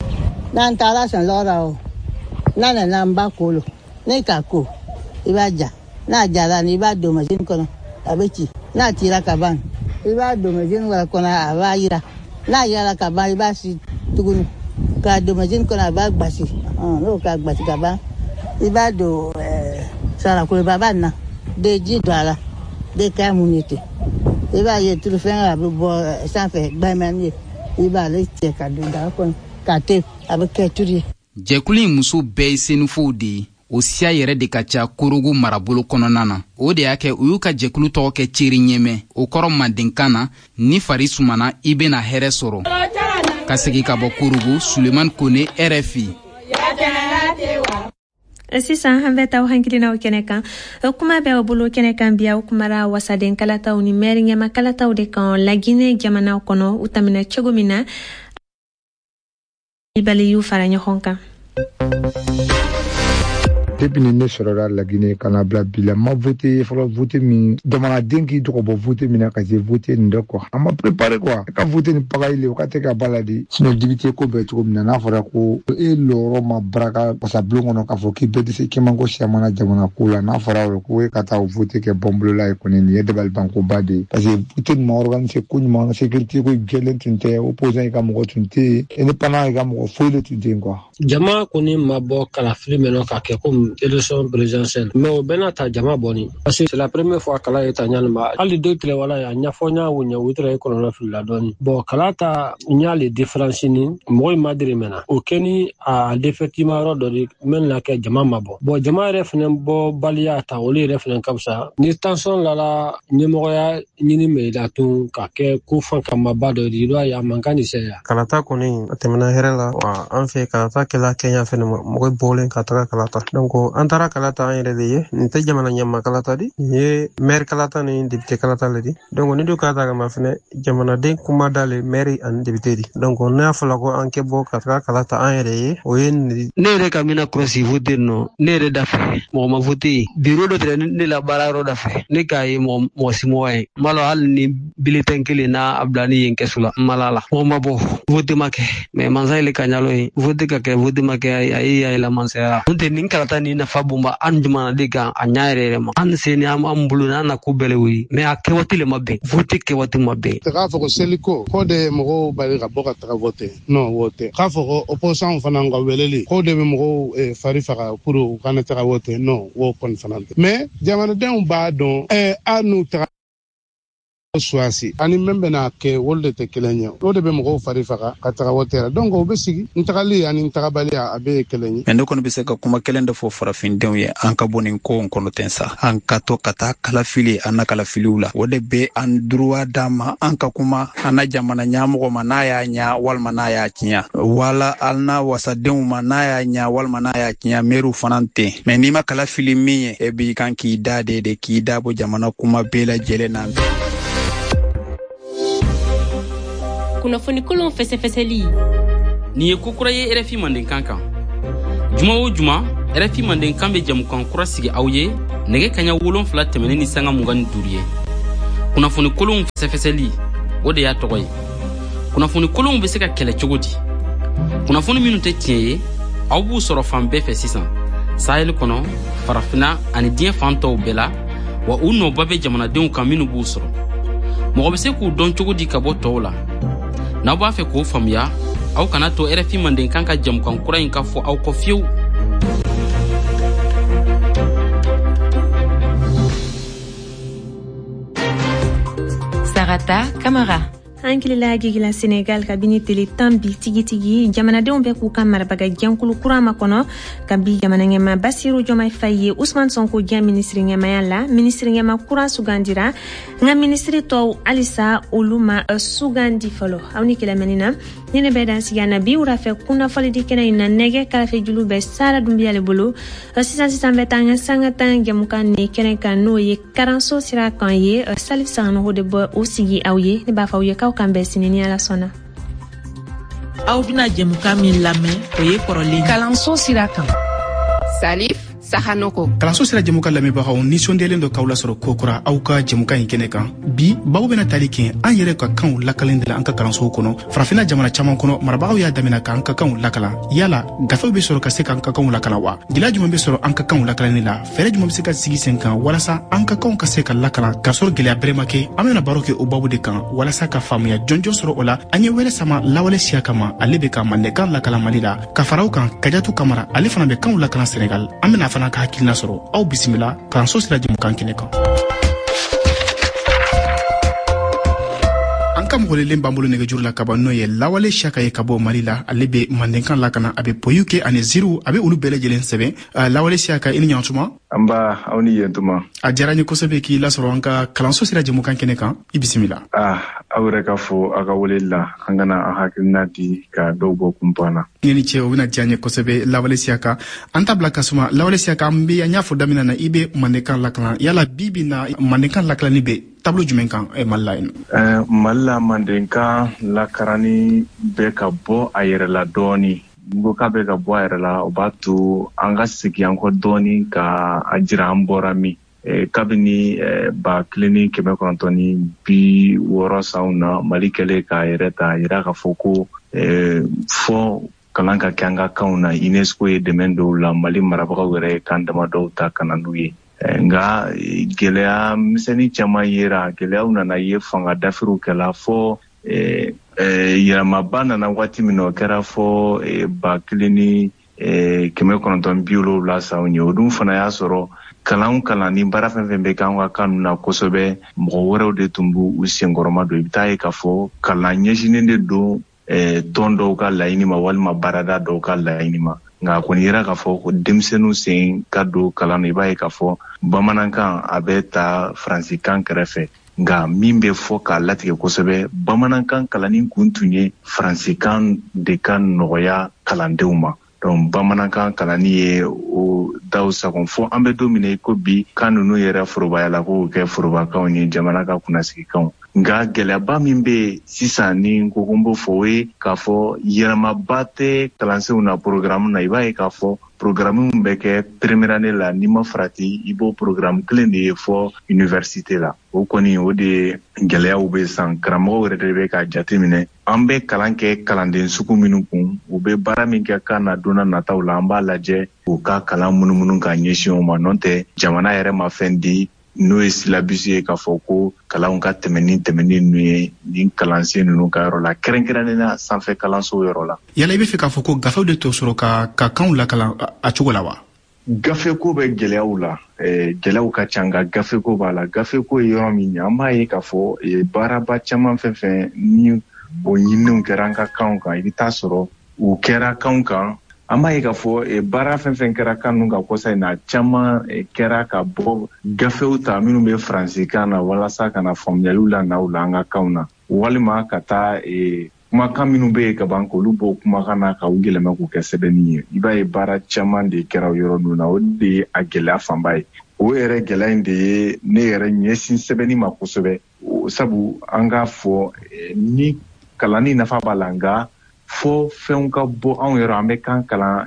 N'an taara sɔnlɔgɔ la o, n'a nana an b'a ko lo, n'i k'a ko, i b'a ja. N'a jara ni i b'a don masini kɔnɔ, a bɛ ci. N'a cira ka ban, i b'a don masini wɛrɛ kɔnɔ, a b'a yira. N'a yirala ka ban, i b'a si tuguni k'a don masini kɔnɔ, a b'a gbasi. N'o k'a gbasi ka ban, i b'a don sarakoloba na, de ji don a la, de k'a mun ye ten. I b'a ye tulu fɛn a bɛ bɔ sanfɛ gbɛmɛni ye, i b'ale cɛ ka don daga kɔnɔ k'a to, a bɛ kɛ tulu ye. Jɛkulu in muso bɛɛ ye senufow de ye. O siya yɛrɛ de ka ca Korogo marabolo kɔnɔna na. O de y'a kɛ u y'u ka jɛkulu tɔgɔ kɛ Ceri ɲɛmɛ. O kɔrɔ mandenkan na, ni fari sumana, i bɛna hɛrɛ sɔrɔ. Ka segin ka bɔ Korogo, Sulemani Kone, RFI. Sisan an bɛ taa hakilinaw kɛnɛ kan. Kuma bɛ aw bolo kɛnɛ kan bi, aw kumara wasaden kalataw ni mɛri ɲɛma kalataw de kan Laginɛ jamana kɔnɔ, u tɛmɛna cogo min na, Bali y'u fara ɲɔgɔn kan. Depuis ni ne sɔrɔla Laginɛ ka na bila bi la, ma voté fɔlɔ. Vote min jamanaden k'i tɔgɔ bɔ vote min na ka se vote nin dɛ quoi, an ma préparé quoi ka vote ni pagaille le, o ka tɛ ka ba la de. Sinon député ko bɛɛ cogo min na, n'a fɔra ko e lɔyɔrɔ ma baraka wasabulon kɔnɔ k'a fɔ k'i bɛɛ tɛ se k'i man ko siyamana jamana ko la, n'a fɔra o ko e ka taa o vote kɛ bɔnbolola ye kɔni, nin ye dabalibankoba de ye. Parce que vote nin ma organiser ko ɲuman, sécurité ko jɛlen tun tɛ, opposant yi ka mɔgɔ tun tɛ yen, indépendant yi ka mɔgɔ foyi de tun tɛ yen quoi. Jama kɔni ma bɔ kalafili mɛnɔ ka kɛ komi élection présidentielle, mais o bɛɛ n'a ta jama bɔni, parce que c'est la première fois kala ye ta ɲani ma. Hali deux tile wala a ɲɛfɔ ɲa o ɲɛ, o tɛrɛ ye kɔlɔlɔ filila dɔɔni. Bon, kala ta ɲa le différence ni mɔgɔ in ma diri mɛna o kɛ ni a défaitement yɔrɔ dɔ de mɛn na kɛ jama ma bɔ. Bon, jama yɛrɛ fɛnɛ bɔ baliya ta, olu yɛrɛ fɛnɛ ka fisa ni tension lala ɲɛmɔgɔya ɲini mɛ la tun ka kɛ ko fan kamaba dɔ de, i b'a ye a man kan ni sɛya. Kalata kɔni a tɛmɛna hɛrɛ la wa. An fɛ kalata kɛla Kɛɲa fɛnɛ ma, mɔgɔ bɔlen ka taga kalata. Donc an taara kalata an yɛrɛ de ye. Nin tɛ jamana ɲɛma kalata di, nin ye maire kalata ni député kalata le di. Donc ni du kalata kama fɛnɛ, jamanaden kuma da le maire ani député di. Donc n'a fɔla ko an kɛ bɔ ka taga kalata an yɛrɛ ye, o ye nin. Ne yɛrɛ ka mina kɔlɔsi vote nɔ, ne yɛrɛ da fɛ mɔgɔ ma vote bureau dɔ tɛrɛ ne la baara yɔrɔ da fɛ, ne k'a ye mɔgɔ si mɔgɔ ye n b'a lɔn hali ni bulletin kelen n'a a bila ni yen kɛsu la, n ma la la mɔgɔ ma bɔ, vote ma kɛ. Mais mansa yɛrɛ ka ɲalo ye vote ka kɛ, vote ma kɛ, a ye y'a yɛlɛ mansaya. N'o tɛ nin kalata ni nafa bonba an jamanaden kan a ɲa yɛrɛ yɛrɛ ma. An se ni an bolo n'an na ko bɛɛ le wuli, mais a kɛwaati le ma bɛn, vote kɛwaati ma bɛn. K'a fɔ ko seliko ko de ye mɔgɔw bali ka bɔ ka taga vote, non, o tɛ. K'a fɔ ko opposant fana ka weleli ko de bɛ mɔgɔw fari faga pour u kana taga vote, non, o kɔni fana tɛ. Mais jamanadenw b'a dɔn a n'u taga suwasi ani min bɛna kɛ, olu de tɛ kelen ye. O de bɛ mɔgɔw fari faga ka taga wote la. Donc o bɛ sigi n tagali ani n tagabaliya, a bɛɛ ye kelen ye. Mais ne kɔni bɛ se ka kuma kelen de fɔ farafindenw ye: an ka bɔ nin ko kɔnɔ ten sa, an ka to ka taa kalafili an na kalafiliw la. O de bɛ an droit d'an ma, an ka kuma an na jamana ɲɛmɔgɔ ma n'a y'a ɲa walima n'a y'a tiɲɛ, wala an na wasadenw ma n'a y'a ɲa walima n'a y'a tiɲɛ, mɛriw fana ten. Mais n'i ma kalafili min ye, e b'i kan k'i da de k'i da bɔ jamana kuma bɛɛ lajɛlen na. Kunnafoni kolon fɛsɛfɛsɛli. Nin ye ko kura ye RFI Mandenkan kan. Juma o juma, RFI Mandenkan bɛ jamukan kura sigi aw ye nɛgɛ kaɲa 7 tɛmɛnen ni sanga 25 ye. Kunnafoni kolonw fɛsɛfɛsɛli, o de y'a tɔgɔ ye. Kunnafoni kolonw bɛ se ka kɛlɛ cogo di? Kunnafoni minnu tɛ tiɲɛ ye, aw b'u sɔrɔ fan bɛɛ fɛ sisan, Sahel kɔnɔ, Farafina ani diɲɛ fan tɔw bɛɛ la, wa u nɔba bɛ jamanadenw kan minnu b'u sɔrɔ. Mɔgɔ bɛ se k'u dɔn cogo di ka bɔ tɔw la? N'aw b'a fɛ k'o faamuya, aw kana to RFI Mandenkan ka jamukan kura in ka fɔ aw kɔ fiyewu. Sarata Kamara. An kilila jigila Senegal kabini tele 10 bi tigitigi, jamanadenw bɛ k'u ka marabaga jɛnkulu kura makɔnɔ kabi jamana ɲɛma Basiru Jɔmai Faye ye Usman Sonko diya minisiri ɲɛmaya la. Minisiri ɲɛma kura sugandira, nka minisiri tɔw halisa olu ma sugandi fɔlɔ. Aw ni kɛlɛmɛni na ni ne bɛ dan sigi na bi wurafɛ kunnafoni di kɛnɛ in na. Nɛgɛ karafe julu bɛ Sara Dunbiya le bolo. Sisan sisan bɛ taa an ka sanga tan jɛmukan ni kɛnɛ kan, n'o ye karanso sira kan ye. Salif Sanogo de bɔ o sigi aw ye. Ne b'a fɔ aw ye k'aw kan bɛn sini ni Ala sɔnna. Aw bɛna jɛmukan min lamɛn, o ye kɔrɔlen kalanso sira kan. Salif Sahanoko. Kalanso sira jɛmukan lamɛnbagaw, nisɔndiyalen dɔ k'aw lasɔrɔ kokura aw ka jɛmukan in kɛnɛ kan. Bi babu bɛna tali kɛ an yɛrɛ ka kanw lakalen de la an ka kalansow kɔnɔ. Farafinna jamana caman kɔnɔ, marabagaw y'a damina k'an ka kanw lakalan. Yala gafew bɛ sɔrɔ ka se k'an ka kanw lakalan wa? Gɛlɛya jumɛn bɛ sɔrɔ an ka kanw lakalanni la? Fɛɛrɛ jumɛn bɛ se ka sigi sen kan walasa an ka kanw ka se ka lakalan k'a sɔrɔ gɛlɛya bɛrɛ ma kɛ? An bɛna baro kɛ o babu de kan walasa ka faamuya jɔnjɔn sɔrɔ o la. An ye wɛrɛ sama Lawale Siyaka ma, ale bɛ ka mandenkan lakalan Mali la, ka fara o kan Kajatu Kamara, ale fana bɛ kanw lakalan Senegal. An bɛna fana ka hakilina sɔrɔ. Aw bisimila kalanso sira jɛmukan kɛnɛ kan. An ka mɔgɔlelen b'an bolo nɛgɛjuru la kaban, n'o ye Lawale Siyaka ye ka bɔ Mali la. Ale bɛ mandenkan lakana, a bɛ poyiw kɛ ani ziiriw, a bɛ olu bɛɛ lajɛlen sɛbɛn. Lawale Siyaka, i ni ɲantuma. An ba, aw ni yentuma. A diyara n ye kosɛbɛ k'i lasɔrɔ an ka kalanso sira jɛmukan kɛnɛ kan. I bisimila. Aw yɛrɛ ka fo aw ka weleli la, an kana an hakilina di ka dɔw bɔ kunpan na. Ne ni ce, o bɛna diya n ye kosɛbɛ. Lawale Siyaka, an ta bila ka suma. Lawale Siyaka, an bɛ an y'a fɔ daminɛ na, i bɛ mandenkan lakalan. Yala bi bi na, mandenkan lakalanni bɛ taabolo jumɛn kan Mali la yen? Mali la, mandenkan lakaranni bɛ ka bɔ a yɛrɛ la dɔɔni. N ko k'a bɛ ka bɔ a yɛrɛ la, o b'a to an ka segin an kɔ dɔɔni ka a jira an bɔra min. Kabini 1960 sanw na, Mali kɛlen k'a yɛrɛ ta, a yira k'a fɔ ko fɔ kalan ka kɛ an ka kanw na. UNESCO ye dɛmɛ dɔw la, Mali marabagaw yɛrɛ ye kan damadɔw ta ka na n'u ye. Nka gɛlɛya misɛnnin caman yera, gɛlɛyaw nana ye, fanga dafiriw kɛla fɔ yɛlɛmaba nana waati min na, o kɛra fɔ 1970 sanw ye. O dun fana y'a sɔrɔ kalan kalan ni baara fɛn fɛn bɛ k'an ka kan ninnu na kosɛbɛ, mɔgɔ wɛrɛw de tun b'u senkɔrɔma don. I bɛ taa ye k'a fɔ kalan ɲɛsinnen de don tɔn dɔw ka laɲini ma walima baarada dɔw ka laɲini ma. Nka a kɔni yera k'a fɔ ko denmisɛnninw sen ka don kalan na. I b'a ye k'a fɔ bamanankan a bɛ ta faransikan kɛrɛfɛ, nka min bɛ fɔ k'a latigɛ kosɛbɛ, bamanankan kalanni kun tun ye faransikan de ka nɔgɔya kalandenw ma. Donc bamanankan kalanni ye o daw sagon fo an bɛ don min na i ko bi, kan ninnu yɛrɛ forobayala k'o kɛ forobakanw ye, jamana ka kunnasigikanw. Nka gɛlɛyaba min bɛ sisan ni n ko ko n b'o fɔ, o ye k'a fɔ yɛlɛmaba tɛ kalansenw na programme na. I b'a ye k'a fɔ programme min bɛ kɛ première année la, n'i ma farati, i b'o programme kelen de ye fɔ université la. O kɔni, o de ye gɛlɛyaw bɛ san. Karamɔgɔw yɛrɛ de bɛ k'a jateminɛ, an bɛ kalan kɛ kalanden sugu minnu kun, u bɛ baara min kɛ kan na don nataw la, an b'a lajɛ k'u ka kalan munumunu ka ɲɛsin o ma. N'o tɛ, jamana yɛrɛ ma fɛn di n'o ye syllabus ye k'a fɔ ko kalanw ka tɛmɛ ni tɛmɛni ninnu ye nin kalansen ninnu ka yɔrɔ la, kɛrɛnkɛrɛnnen na sanfɛ kalansow yɔrɔ la. Yala i bɛ fɛ k'a fɔ ko gafew de t'o sɔrɔ ka kanw lakalan a cogo la wa? Gafeko bɛ gɛlɛyaw la, gɛlɛyaw ka ca, nka gafeko b'a la. Gafeko ye yɔrɔ min ye, an b'a ye k'a fɔ baaraba caman fɛn fɛn ni o ɲininiw kɛra an ka kanw kan, i bɛ taa sɔrɔ u kɛra kanw kan. An b'a ye k'a fɔ baara fɛn fɛn kɛra kan ninnu kan kɔsa in na, caman kɛra ka bɔ gafew ta minnu bɛ faransikan na walasa ka na faamuyaliw la na u la an ka kanw na, walima ka taa kumakan minnu bɛ yen ka ban k'olu bɔ kumakan na ka u yɛlɛma k'u kɛ sɛbɛnni ye. I b'a ye baara caman de kɛra o yɔrɔ ninnu na. O de ye a gɛlɛya fanba ye. O yɛrɛ gɛlɛya in de ye ne yɛrɛ ɲɛsin sɛbɛnni ma kosɛbɛ, sabu an k'a fɔ ni Kalanni nafa b'a la, nka fo fɛnw ka bɔ anw yɔrɔ. An bɛ kan kalan,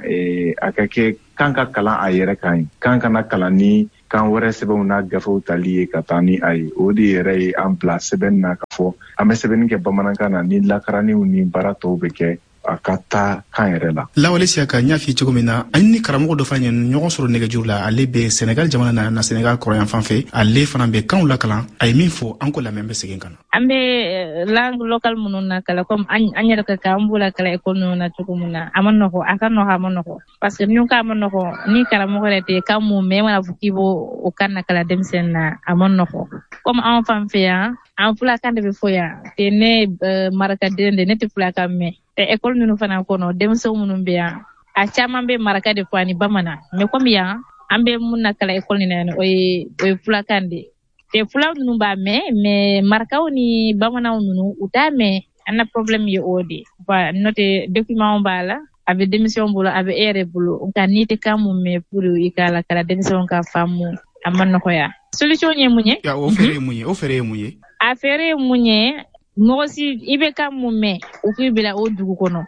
a ka kɛ kan ka kalan a yɛrɛ kan ye, kan kana kalan ni kan wɛrɛ sɛbɛnw n'a gafew tali ye ka taa ni a ye. O de yɛrɛ ye an bila sɛbɛnni na, k'a fɔ an bɛ sɛbɛnni kɛ bamanankan na, ni lakaraniw ni baara tɔw bɛ kɛ, a ka taa kan yɛrɛ la. Lawale Siyaka, n y'a f'i cogo min na, an ni karamɔgɔ dɔ fana ye ɲɔgɔn sɔrɔ nɛgɛjuru la. Ale bɛ Senegal jamana na Senegal kɔrɔyan fan fɛ. Ale fana bɛ kanw lakalan. A ye min fɔ, an ko lamɛn, bɛ segin ka na. An bɛ langue locale minnu na kalan, comme an yɛrɛ ka kan, an b'o la kalan école ninnu na cogo min na, a ma nɔgɔ, a ka nɔgɔ, a ma nɔgɔ, parce que ni ko a ma nɔgɔ, ni karamɔgɔ yɛrɛ tɛ kan mun mɛn, e mana fɔ k'i b'o o kan na kalan denmisɛnnin na, a ma nɔgɔ. Comme anw fan fɛ yan, an fulakan de bɛ fɔ yan te. Ne marakaden de, ne tɛ fulakan mɛn te. École ninnu fana kɔnɔ, denmisɛnw minnu bɛ yan, a caman bɛ maraka de fɔ ani bamanan, mais comme yan an bɛ mun na kalan école nin na yan, o ye fulakan de te. Fulaw ninnu b'a mɛn, mais marakaw ni bamananw ninnu, u t'a mɛn. An na problème ye o de. N'o tɛ, document b'a la, a bɛ denmisɛnw bolo, a bɛ e yɛrɛ bolo, nka n'i tɛ kan mun mɛn pour i k'a la kalan denmisɛnw ka faamu, a ma nɔgɔya. Solution ye mun ye? O fɛɛrɛ ye mun ye? O fɛɛrɛ ye mun ye? A fɛɛrɛ ye mun ye? Mɔgɔ si, i bɛ kan mun mɛn, o k'i bila o dugu kɔnɔ,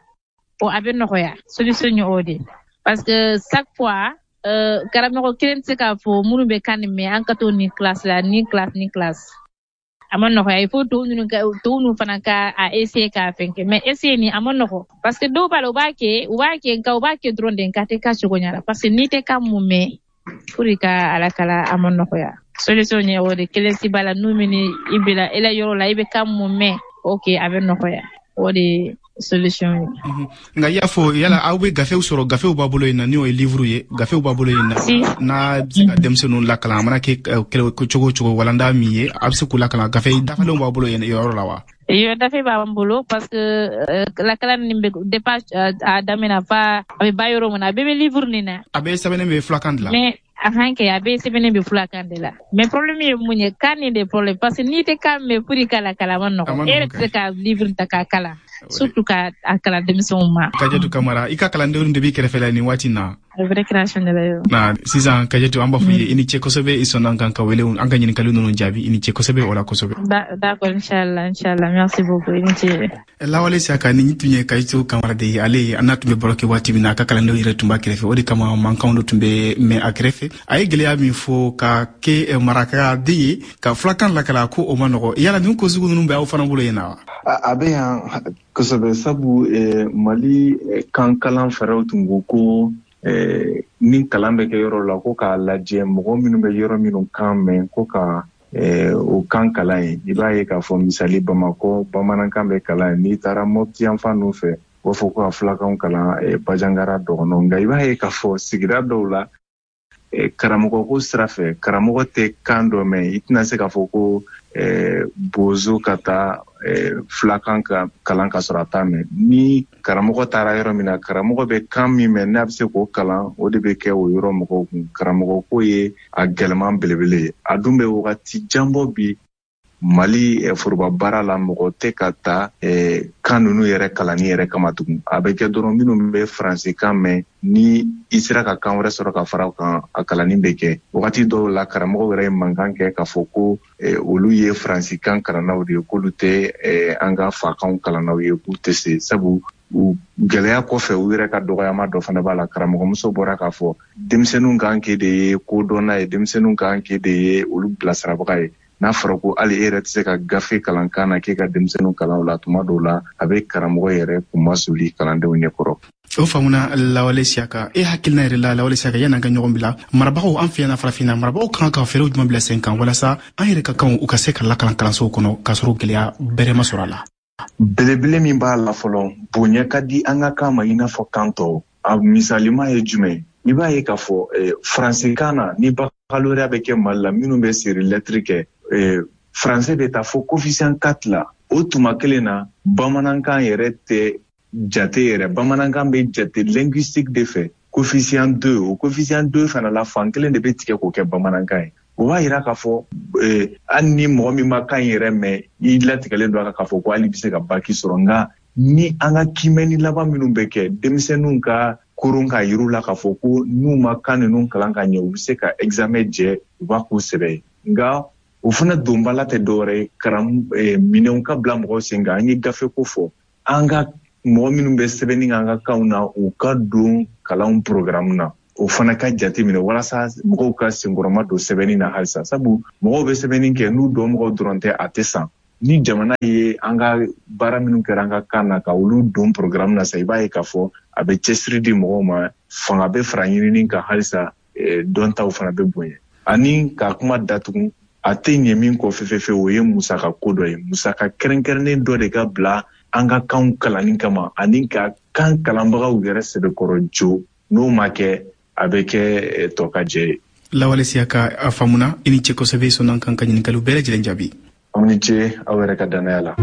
o a bɛ nɔgɔya. Solution ye o de, parce que chaque fois karamɔgɔ kelen tɛ se k'a fɔ minnu bɛ kan nin mɛn, an ka to nin classe la, ni classe, ni classe, a ma nɔgɔya. Il faut tɔw ninnu ka, tɔw ninnu fana ka a essayer k'a fɛn kɛ, mais essayer nin a ma nɔgɔ, parce que dɔw b'a la, u b'a kɛ, u b'a kɛ, nka u b'a kɛ dɔrɔn de, nka a tɛ k'a cogo ɲɛ la, parce que n'i tɛ kan mun mɛn pour ka a lakala, a ma nɔgɔya. Solution ye o de kelen si b'a la, n'u min i bila i la yɔrɔ la, i bɛ kan mun mɛn, ok, a bɛ nɔgɔya. O de ye solution ye. Nka i y'a fɔ, yala aw bɛ gafew sɔrɔ, gafew b'a bolo yen na, n'o ye livre ye, gafew b'a bolo yen na, n'a bɛ se ka denmisɛnninw lakalan, a mana kɛ cogo o cogo, walanda min ye, a bɛ se k'u lakalan, gafe dafalenw b'a bolo yen yɔrɔ la wa? Yo, gafe b'an bolo, parce que lakalan nin bɛ depuis a daminɛ fa a bɛ ba yɔrɔ min na, a bɛɛ bɛ livre nin na. A bɛɛ sɛbɛnnen bɛ fulakan de la. Mais a kan kɛ, a bɛɛ sɛbɛnnen bɛ fulakan de la, mais problème ye mun ye? Kan nin de problème, parce que n'i tɛ kan mɛn pour i ka lakalan, a ma nɔgɔn. E yɛrɛ tɛ se ka livre ta k'a kalan, surtout ka a kalan denmisɛnw ma. Kajatu Kamara, i ka kalandenw de b'i kɛrɛfɛ la nin waati na. Récréation de la yo. Na sisan, Kajatu, an b'a fɔ i ye i ni ce kosɛbɛ. I sɔnna an kan ka wele, an ka ɲininkali ninnu jaabi. I ni ce kosɛbɛ o la kosɛbɛ. D'accord, inchallah, inchallah, merci beaucoup, i ni ce. Lawale Siyaka, nin tun ye Kajatu Kamara de ye. Ale an n'a tun bɛ baro kɛ waati min na, a ka kalandenw yɛrɛ tun b'a kɛrɛfɛ, o de kama mankanw dɔ tun bɛ mɛn a kɛrɛfɛ. A ye gɛlɛya min fɔ, ka kɛ marakaden ye ka fulakan lakala, ko o ma nɔgɔ. Yala nin ko sugu ninnu bɛ aw fana bolo yen na wa? A bɛ yan kosɛbɛ, sabu Mali kan kalan fɛɛrɛw tun ko ko ni kalan bɛ kɛ yɔrɔ la, ko k'a lajɛ mɔgɔ minnu bɛ yɔrɔ minnu kan mɛn, ko ka o kan kalan ye. I b'a ye k'a fɔ, misali, Bamakɔ, bamanankan bɛ kalan ye. N'i taara Mɔpti yanfan ninnu fɛ, u b'a fɔ ko ka fulakanw kalan Bajangara, Dɔgɔnɔ. Nka i b'a ye k'a fɔ sigida dɔw la, karamɔgɔ ko sira fɛ, karamɔgɔ tɛ kan dɔ mɛn, i tɛna se k'a fɔ ko bozo ka taa fulakan ka kalan ka sɔrɔ a t'a mɛn. Ni karamɔgɔ taara yɔrɔ min na, karamɔgɔ bɛ kan min mɛn, n'a bɛ se k'o kalan, o de bɛ kɛ o yɔrɔ mɔgɔw kun. Karamɔgɔ ko ye a gɛlɛman belebele ye. A dun bɛ wagati jan bɔ bi, Mali foroba baara la, mɔgɔ tɛ ka taa kan ninnu yɛrɛ kalanni yɛrɛ kama tugun. A bɛ kɛ dɔrɔn minnu bɛ faransikan mɛn, ni i sera ka kan wɛrɛ sɔrɔ ka fara o kan, a kalanni bɛ kɛ. Wagati dɔw la, karamɔgɔw yɛrɛ ye mankan kɛ k'a fɔ ko olu ye faransikan kalannaw de ye, k'olu tɛ an ka fakanw kalannaw ye, k'u tɛ se, sabu u gɛlɛya kɔfɛ, u yɛrɛ ka dɔgɔyama dɔ fana b'a la. Karamɔgɔmuso bɔra k'a fɔ, denmisɛnninw kan k'e de ye kodɔnna ye, denmisɛnninw kan k'e de ye olu bilasirabaga ye. N'a fɔra ko hali e yɛrɛ tɛ se ka gafe kalan kan na k'e ka denmisɛnninw kalan o la, tuma dɔw la a bɛ karamɔgɔ yɛrɛ kunmasuli kalandenw ɲɛkɔrɔ. O faamuna. Lawale Siyaka, e hakilina yɛrɛ la, Lawale Siyaka, yan'an ka ɲɔgɔn bila, marabagaw an fɛ yan farafinna, marabagaw kan ka fɛɛrɛw jumɛn bila sen kan walasa an yɛrɛ ka kanw, u ka se ka lakalan kalansow kɔnɔ k'a sɔrɔ gɛlɛya bɛrɛ ma sɔrɔ a la? Belebele min b'a la fɔlɔ, bonya ka di an ka kan ma i n'a fɔ kan tɔw. A misalima ye jumɛn? I b'a ye k'a fɔ faransikan na, ni baccalauréat bɛ kɛ Mali la, minnu bɛ série lettre kɛ, français bɛ taa fo coefficient 4 la. O tuma kelen na, bamanankan yɛrɛ tɛ jate yɛrɛ. Bamanankan bɛ jate linguistique de fɛ, coefficient 2. O coefficient 2 fana la, fan kelen de bɛ tigɛ k'o kɛ bamanankan ye. O b'a yira k'a fɔ hali ni mɔgɔ min ma kan yɛrɛ mɛn, i latigɛlen don a kan k'a fɔ ko hali bɛ se ka bac sɔrɔ. Nka ni an ka kiimɛni laban minnu bɛ kɛ, denmisɛnninw ka koron k'a yir'u la k'a fɔ ko n'u ma kan ninnu kalan ka ɲɛ, u bɛ se ka examen jɛ, u b'a k'u sɛbɛ ye. Nka O fana donbala tɛ dɔwɛrɛ ye, karam minɛnw ka bila mɔgɔw sen kan. An ye gafe ko fɔ, an ka mɔgɔ minnu bɛ sɛbɛnni kɛ an ka kanw na, u ka don kalanw programme na. O fana ka jate minɛ walasa mɔgɔw ka senkɔrɔma don sɛbɛnni na halisa, sabu mɔgɔw bɛ sɛbɛnni kɛ n'u dɔnmɔgɔw dɔrɔn tɛ, a tɛ san. Ni jamana ye an ka baara minnu kɛra an ka kan na ka olu don programme na sa, i b'a ye k'a fɔ a bɛ cɛsiri di mɔgɔw ma, fanga bɛ fara ɲinini kan halisa, dɔntaw fana bɛ bonya. Ani ka kuma datugu, a tɛ ɲɛ min kɔ fefefe, o ye musaka ko dɔ ye. Musaka kɛrɛnkɛrɛnnen dɔ de ka bila an ka kanw kalanni kama ani ka kan kalanbagaw yɛrɛ sɛbɛkɔrɔ jo. N'o ma kɛ, a bɛ kɛ tɔ ka jɛ ye. Lawale Siyaka, a faamuna. I ni ce kosɛbɛ, sɔnna kan ka ɲininkaliw bɛɛ lajɛlen jaabi. Aw ni ce aw yɛrɛ ka dannaya la.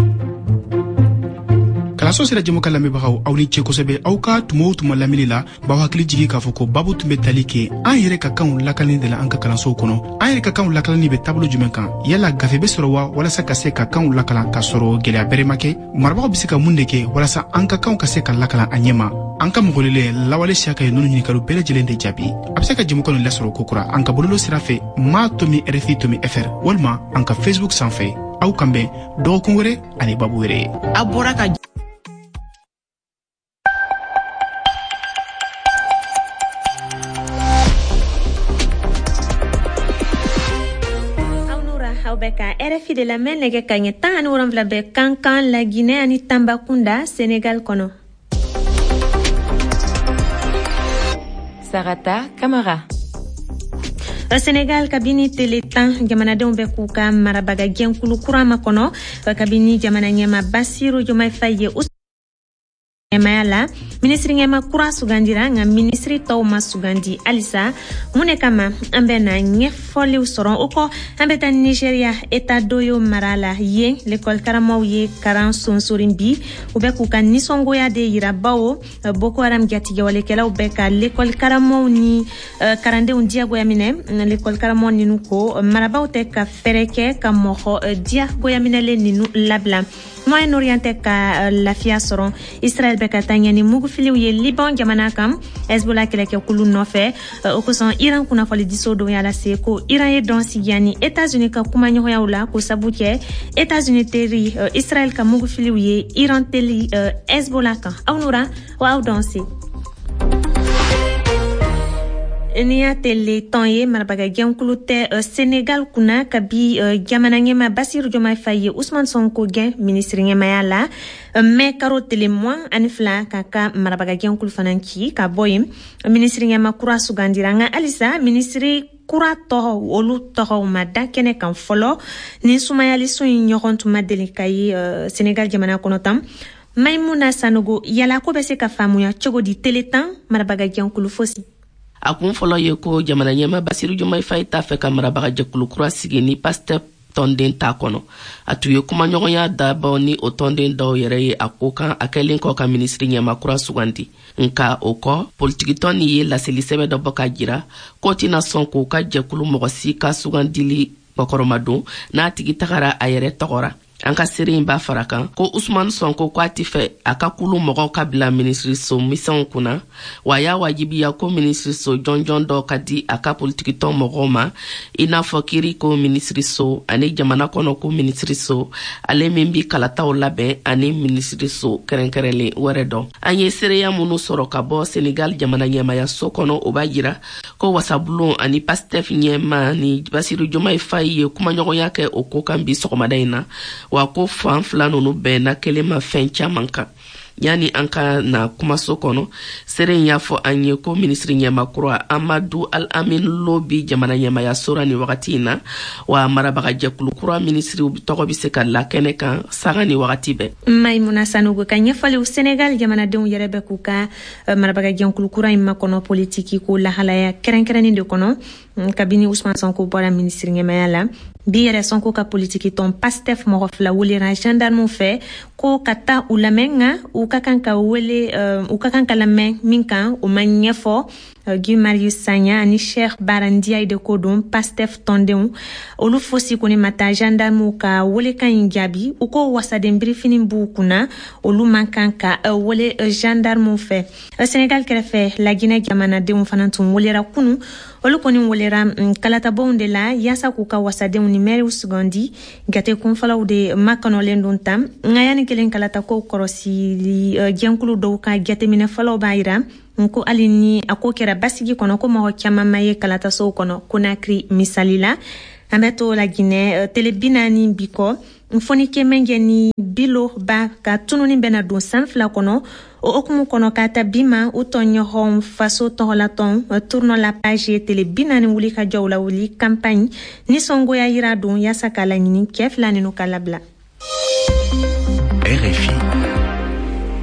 Kalanso sira jɛmukan lamɛnbagaw, aw ni ce kosɛbɛ aw ka tuma o tuma lamɛnni la. B'aw hakili jigi k'a fɔ ko babu tun bɛ tali kɛ an yɛrɛ ka kanw lakalani de la an ka kalansow kɔnɔ. An yɛrɛ ka kanw lakalanni bɛ taabolo jumɛn kan? Yala gafe bɛ sɔrɔ wa walasa ka se ka kanw lakalan k'a sɔrɔ gɛlɛya bɛrɛ ma kɛ? Marabagaw bɛ se ka mun de kɛ walasa an ka kanw ka se ka lakalan a ɲɛma? An ka mɔgɔlelen Lawale Siyaka ye ninnu ɲininkaliw bɛɛ lajɛlen de jaabi. A bɛ se ka jɛmukan nin lasɔrɔ kokura an ka bɔlɔlɔ sira fɛ, ma tomi rfi tomi fr, walima an ka Facebook sanfɛ. Aw kan bɛn dɔgɔkun wɛrɛ ani babu wɛrɛ ye. A bɔra ka Aw bɛ ka RFI de lamɛn. Nɛgɛ ka ɲɛ 17 bɛ Kankan, Laginɛ ani Tanbakunda, Senegal kɔnɔ. Sarata Kamara. Senegal, kabini tele 10, jamanadenw bɛ k'u ka marabaga jɛnkulu kura makɔnɔ, kabini jamana ɲɛma Basiru Jomayi Fayi ye ɲɛmaya la. Minisiri ɲɛma kura sugandira, nka minisiri tɔw ma sugandi halisa. Mun de kama? An bɛ na ɲɛfɔliw sɔrɔ. O kɔ, an bɛ taa Nigeria, État d'Oyo mara la. Yen, lekɔli karamɔgɔw ye karan sonsorin bi. U bɛ k'u ka nisɔngoya de yira, bawo Boko Haram jatigɛwalekɛlaw bɛ ka lekɔli karamɔgɔw ni karandenw diyagoya minɛ. Lekɔli karamɔgɔ ninu ko marabaw tɛ ka fɛɛrɛ kɛ ka mɔgɔ diyagoya minɛlen ninu labila. Moyen-Orient tɛ ka lafiya sɔrɔ. Israël bɛ ka taa ɲɛ ni mugufiliw ye Liban jamana kan, Hezbollah kɛlɛkɛkulu nɔfɛ. O kosɔn, Iran kunnafonidiso dɔ y'a lase ko Iran ye dɔn sigiya ni États-Unis ka kumaɲɔgɔnyaw la, ko sabu kɛ États-Unis teri Israël ka mugufiliw ye Iran teli Hezbollah kan. Aw nura wa aw dɔn se. Ni y'a tele tɔn ye, marabaga jɛnkulu tɛ Senegal kunna kabi jamana ɲɛma Basiru Jomayi Fayi ye Usman Sonko gɛn minisiri ɲɛmaya la mɛ karo tele 22, k'a ka marabaga jɛnkulu fana ci ka bɔ yen. Minisiri ɲɛma kura sugandira, nka halisa minisiri kura tɔgɔ, olu tɔgɔw ma da kɛnɛ kan fɔlɔ. Ni sumayaliso in ɲɔgɔn tun ma deli ka ye Senegal jamana kɔnɔ tan. Maimuna Sanogo, yala ko bɛ se ka faamuya cogo di tele 10 marabaga jɛnkulu fosi? A kun fɔlɔ ye ko jamana ɲɛma Basiru Jomayi Fayi t'a fɛ ka marabaga jɛkulu kura sigi ni Pastef tɔnden t'a kɔnɔ. A tun ye kumaɲɔgɔnya dabɔ ni o tɔnden dɔw yɛrɛ ye a ko kan, a kɛlen kɔ ka minisiri ɲɛma kura sugandi. Nka o kɔ, politikitɔn nin ye laseli sɛbɛn dɔ bɔ k'a jira k'o tɛna sɔn k'o ka jɛkulu mɔgɔ si ka sugandili kɔkɔrɔmadon n'a tigi tagara a yɛrɛ tɔgɔ ra. An ka seere in b'a fara kan ko Usman Sonko ko a tɛ fɛ a ka kulu mɔgɔw ka bila minisiriso misɛnw kunna, wa a y'a wajibiya ko minisiriso jɔnjɔn dɔ ka di a ka politikitɔn mɔgɔw ma, i n'a fɔ kiiri ko minisiriso ani jamana kɔnɔ ko minisiriso, ale min bi kalataw labɛn, ani minisiriso kɛrɛnkɛrɛnlen wɛrɛ dɔ. An ye seereya minnu sɔrɔ ka bɔ Senegal jamana ɲɛmayaso kɔnɔ, o b'a jira ko wasabulon ani Pastef ɲɛma ni Basiru Jomayi Fayi ye kumaɲɔgɔnya kɛ o ko kan bi sɔgɔmada in na, wa ko fan fila nunu bɛnna kelen ma fɛn caman kan. Yanni an ka na kumaso kɔnɔ, seere in y'a fɔ an ye ko minisiri ɲɛma kura Amadu Al-Amin Lo bi jamana ɲɛmayaso ra nin wagati in na, wa marabaga jɛkulu kura minisiriw tɔgɔ bɛ se ka la kɛnɛ kan sanga ni wagati bɛɛ. Maimuna Sanogo ka ɲɛfɔliw. Senegal jamanadenw yɛrɛ bɛ k'u ka marabaga jɛnkulu kura in makɔnɔ politiki ko lahalaya kɛrɛnkɛrɛnnen de kɔnɔ kabini Usman Sonko bɔra minisiri ɲɛmaya la. Bi yɛrɛ, Sonko ka politiki tɔn Pastef mɔgɔ fila welera gendarmew fɛ. Ko ka taa u lamɛn, nka u ka kan ka wele, u ka kan ka lamɛn min kan, o ma ɲɛfɔ. Guy Marius Sagna ani Cheikh Bara Ndiaye de ko don, Pastef tɔndenw, olu fosi kɔni ma taa gendarmew ka welekan in jaabi. U ko wasaden birifini b'u kunna, olu man kan ka wele gendarmew fɛ. Senegal kɛrɛfɛ, Laginɛ jamanadenw fana tun welera kunu. Olu kɔni welera kalatabonw de la yaasa k'u ka wasadenw ni mɛriw sugandi. Gate kunfɔlɔw de makɔnɔlen don tan, nka yanni kelen kalatakow kɔrɔsili jɛnkulu dɔw ka jateminɛ fɔlɔw b'a yira ko hali ni a ko kɛra basigi kɔnɔ, ko mɔgɔ caman ma ye kalatasow kɔnɔ Konakiri misali la. An bɛ to Laginɛ tele 40 bi kɔ, Foniké Menguè ni Billo Bah ka tununi bɛna don san 2 kɔnɔ. O hukumu kɔnɔ, k'a ta bi ma, u tɔɲɔgɔn faso tɔgɔlatɔn Tournons la page ye tele 40 wuli ka jɔw la wuli campagne nisɔngoya yira don yaasa k'a laɲini cɛɛ fila ninu ka labila. RFI.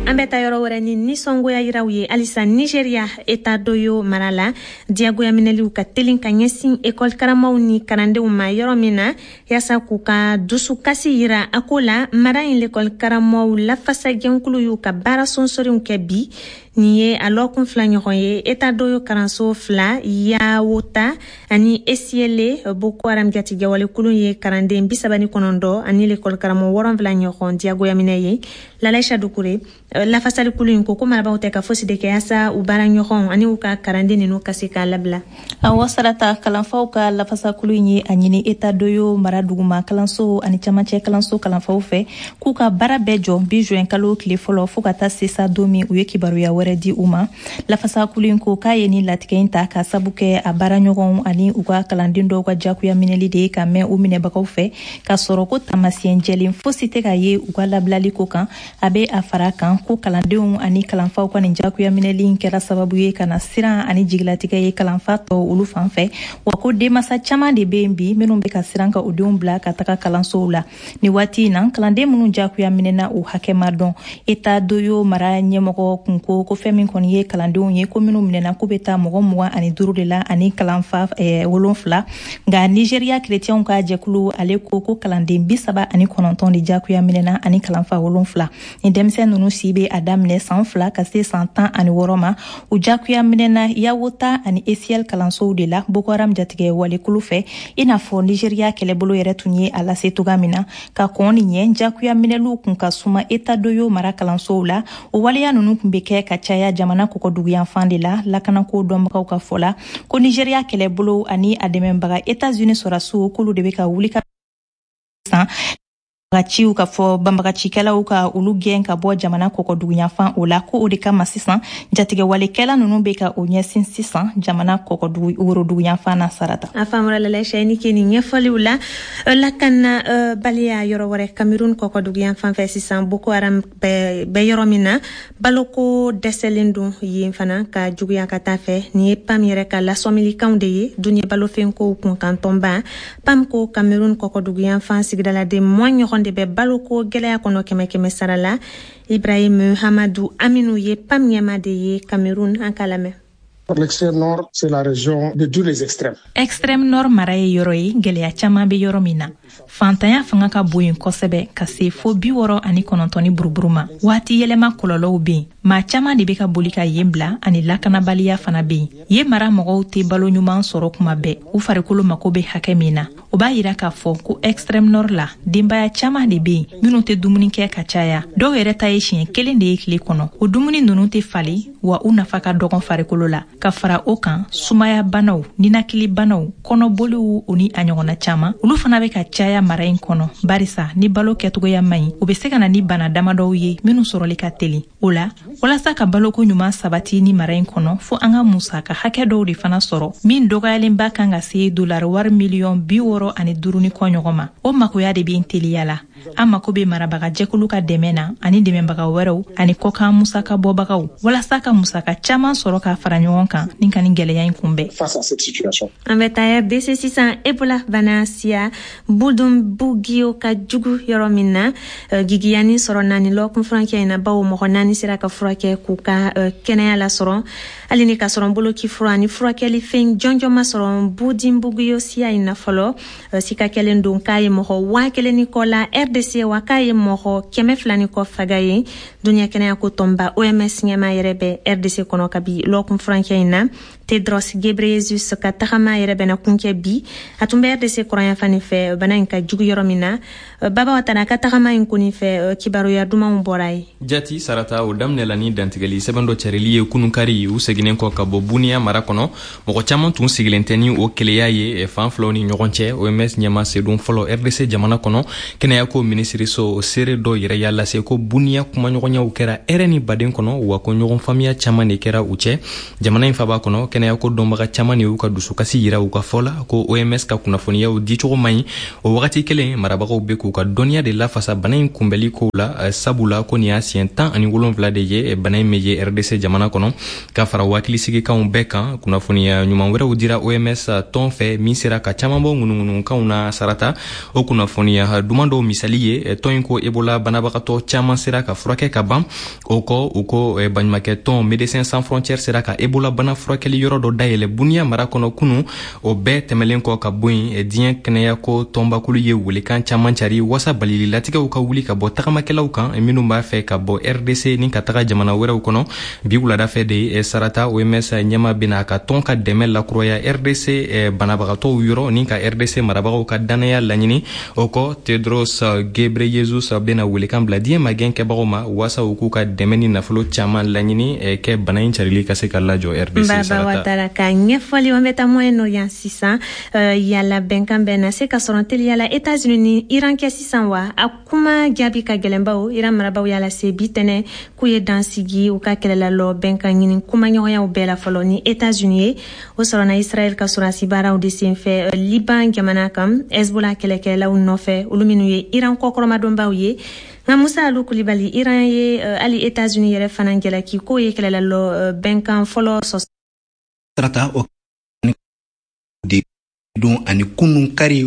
An bɛ taa yɔrɔ wɛrɛ ni nisɔngoya yiraw ye halisa. Nigeria, État d'Oyo mara la, diyagoya minɛliw ka telin ka ɲɛsin ekɔli karamɔgɔw ni kalandenw ma yɔrɔ min na, yaasa k'u ka dusukasi yira a ko la. Mara in lekɔli karamɔgɔw lafasajɛnkulu y'u ka baara sonsoriw kɛ bi. Nin ye a lɔkun 2 ɲɔgɔn ye. État d'Oyo kalanso fila, Yawota ani Esiele, Boko Haram jatigɛwalekulu ye kalanden 39 ani lekɔli karamɔgɔ 7 ɲɔgɔn diyagoya minɛ ye. Lalaisa Dukure, lafasalikulu in ko ko marabaw tɛ ka fosi de kɛ yaasa u baara ɲɔgɔn ani u ka kalanden ninnu ka se k'a labila. Awɔ Sarata, kalanfaw ka lafasakulu in ye a ɲini État d'Oyo mara duguma kalanso ani camancɛ kalanso kalanfaw fɛ k'u ka baara bɛɛ jɔ bi juin kalo tile fɔlɔ, fɔɔ ka taa se sa don min u ye kibaruya wɛrɛ di u ma. Lafasakulu in ko k'a ye nin latigɛ in ta ka sabu kɛ a baara ɲɔgɔnw ani u ka kalanden dɔw ka jagoya minɛli de ye ka mɛn u minɛbagaw fɛ, k'a sɔrɔ ko taamasiyɛn jɛlen fosi tɛ ka ye u ka labilali ko kan. A bɛ a fara kan ko kalandenw ani kalanfaw ka nin jagoya minɛli in kɛra sababu ye ka na siran ani jigilatigɛ ye kalanfa tɔw olu fan fɛ, wa ko denmasa caman de bɛ yen bi minnu bɛ ka siran ka u denw bila ka taga kalansow la nin waati in na. Kalanden minnu jagoya minɛna, u hakɛ ma dɔn. État d'Oyo mara ɲɛmɔgɔ kun ko ko fɛn min kɔni ye kalandenw ye, ko minnu minɛna, k'u bɛ taa mɔgɔ 25 de la ani kalanfa 7. Nka Nigeriya kerecɛnw ka jɛkulu, ale ko ko kalanden 39 de jagoya minɛna ani kalanfa 7. Ni denmisɛn ninnu si bɛ a daminɛ san 2 ka se san 16 ma, u jagoya minɛna Yawota ani Esiel kalansow de la Boko Haram jatigɛ walekulu fɛ, i n'a fɔ Nigeriya kɛlɛbolo yɛrɛ tun ye a lase toga min na. Ka kɔn nin ɲɛ, jagoya minɛliw kun ka suma État d'Oyo mara kalansow la. O waleya ninnu kun bɛ kɛ ka caya jamana kɔkɔduguyanfan de la. Lakanako dɔnbagaw ka fɔ la ko Nigeriya kɛlɛbolo ani a dɛmɛbaga États-Unis sɔrɔdasiw, k'olu de bɛ ka wuli ka san ciw ka fɔ banbagacikɛlaw ka olu gɛn ka bɔ jamana kɔkɔduguyanfan o la, ko o de kama sisan jatigɛwalekɛla ninnu bɛ ka o ɲɛsin sisan jamana kɔkɔdugu woroduguyanfan na. Sarata. A faamura Lalaisa, i ni ke nin ɲɛfɔliw la. Lakana baliya yɔrɔ wɛrɛ, Cameroun kɔkɔduguyanfan fɛ sisan, Boko Haram bɛ yɔrɔ min na, baloko dɛsɛlen don yen fana ka juguya ka taa fɛ. Nin ye PAM yɛrɛ ka lasɔmilikanw de ye. Duniɲɛ balofɛnkow kunkantɔnba PAM ko Cameroun kɔkɔduguyanfan sigidaladen 20 ɲɔgɔn de bɛ baloko gɛlɛya kɔnɔ kɛmɛ kɛmɛ sara la. Ibrahim Hamadou Aminou ye PAM ɲɛma de ye Cameroun, an k'a lamɛn. L'extrême nord, c'est la région de tous les extrêmes. Extrême nord mara ye yɔrɔ ye gɛlɛya caman bɛ yɔrɔ min na. Fantanya fanga ka bon yen kosɛbɛ ka se fo 69 ni buruburu ma. Waati yɛlɛma kɔlɔlɔw bɛ yen. Maa caman de bɛ ka boli ka yen bila ani lakanabaliya fana bɛ yen. Yen mara mɔgɔw tɛ balo ɲuman sɔrɔ kuma bɛɛ, u farikolo mako bɛ hakɛ min na. O b'a yira k'a fɔ ko extrême nord la, denbaya caman de bɛ yen minnu tɛ dumuni kɛ ka caya. Dɔw yɛrɛ ta ye siɲɛ kelen de ye tile kɔnɔ. O dumuni ninnu tɛ falen, wa u nafa ka dɔgɔn farikolo la. Ka fara o kan, sumaya banaw, ninakili banaw, kɔnɔboliw, o ni a ɲɔgɔnna caman, olu fana bɛ ka caya mara in kɔnɔ, barisa ni balo kɛcogoya man ɲi, o bɛ se ka na ni bana damadɔw ye minnu sɔrɔli ka teli. O la, walasa ka baloko ɲuman sabati ni mara in kɔnɔ, fo an ka musaka hakɛ dɔw de fana sɔrɔ min dɔgɔyalenba kan ka se dolari wari miliyɔn 65 ni kɔ ɲɔgɔn ma. O makoya de bɛ teliya la. An mako bɛ marabaga jɛkulu ka dɛmɛ na ani dɛmɛbaga wɛrɛw ani kɔkan musaka bɔbagaw, walasa ka musaka caman sɔrɔ k'a fara ɲɔgɔn kan ni ka nin gɛlɛya in kunbɛn. An bɛ taa RDC sisan, Ebola bana siya Bundibugyo ka jugu yɔrɔ min na. Gigiyani sɔrɔ naani lɔkun furancɛ in na, bawo mɔgɔ 4 sera ka furakɛ k'u ka kɛnɛya lasɔrɔ, hali ni ka sɔrɔ boloci fura ani furakɛli fɛn jɔnjɔn ma sɔrɔ Bundibugyo siya in na fɔlɔ. Sika kɛlen don k'a ye mɔgɔ 1000 ni kɔ la. RDC wa k'a ye mɔgɔ 200 ni kɔ faga yen. Duniɲa kɛnɛyako tɔnba OMS ɲɛmaa yɛrɛ bɛ RDC kɔnɔ kabi lɔkun furancɛ in na. Tedros Ghebreyesus ka tagama yɛrɛ bɛna kuncɛ bi. A tun bɛ RDC kɔrɔnyanfan nin fɛ, bana in ka jugu yɔrɔ min na. Baba Watara ka tagama in kɔni fɛ, kibaruya dumanw bɔra ye. Jati Sarata, o daminɛla ni dantigɛli sɛbɛn dɔ carili ye kununkari, u seginnen kɔ ka bɔ Buniya mara kɔnɔ. Mɔgɔ caman tun sigilen tɛ ni o keleya ye fan filaw ni ɲɔgɔn cɛ. OMS ɲɛmaa sedon fɔlɔ RDC jamana kɔnɔ, kɛnɛyako minisiriso o seere dɔ yɛrɛ y'a lase ko Buniya kumaɲɔgɔnyaw kɛra hɛrɛ ni baden kɔnɔ, wa ko ɲɔgɔn faamuya caman de kɛra u cɛ. Jamana in faba kɔnɔ, kɛnɛyako dɔnbaga caman de y'u ka dusukasi yira u ka fɔ la ko OMS ka kunnafoniyaw dicogo man ɲi. O wagati kelen, marabagaw bɛ k'u ka dɔnniya de lafasa bana in kunbɛli kow la, sabula ko nin y'a siɲɛ 17 de ye bana in bɛ ye RDC jamana kɔnɔ. Ka fara hakilisigikanw bɛɛ kan, kunnafoniya ɲuman wɛrɛw dira OMS tɔn fɛ min sera ka caman bɔ ŋunuŋunukanw na. Sarata, o kunnafoniya duman dɔw misali ye, tɔn in ko Ebola banabagatɔ caman sera ka furakɛ ka ban. O kɔ, u ko baɲumankɛ tɔn Médecins Sans Frontières sera ka Ebola bana furakɛli yɔrɔ dɔ dayɛlɛ Buniya mara kɔnɔ kunu. O bɛɛ tɛmɛlen kɔ ka bɔ yen, diɲɛ kɛnɛyako tɔnbakulu ye welekan caman cari wasa balili latigɛw ka wuli ka bɔ tagamakɛlaw kan minnu b'a fɛ ka bɔ RDC ni ka taga jamana wɛrɛw kɔnɔ. Bi wulada fɛ de, Sarata, OMS ɲɛmaa bɛna a ka tɔn ka dɛmɛ lakuraya RDC banabagatɔw yɔrɔ ni ka RDC marabagaw ka dannaya laɲini. O kɔ, Tedros Ghebreyesus bɛna welekan bila diɲɛ magɛn kɛbagaw ma wasa u k'u ka dɛmɛ ni nafolo caman laɲini kɛ bana in carili ka se ka lajɔ RDC. Baba Watara ka ɲɛfɔli. An bɛ taa Moyen-Orient sisan. Yala bɛnkan bɛ na se ka sɔrɔ teliya la États-Unis ni Iran kɛ sisan wa? A kuma jaabi ka gɛlɛn, bawo Iran marabaw y'a lase bi tɛnɛ k'u ye dan sigi u ka kɛlɛlalɔ bɛnkan ɲini kumaɲɔgɔnyaw bɛɛ la fɔlɔ ni États-Unis ye. O sɔrɔna Israël ka sɔrɔdasi baaraw de senfɛ Liban jamana kan, Hezbollah kɛlɛkɛlaw nɔfɛ, olu minnu ye Iran kɔkɔrɔmadonbaw ye. Nka Musa Alu Kulibali, Iran ye hali États-Unis yɛrɛ fana jalaki k'o ye kɛlɛlalɔ bɛnkan fɔlɔ sɔsɔ. Sarata, o de don ani kunun kari,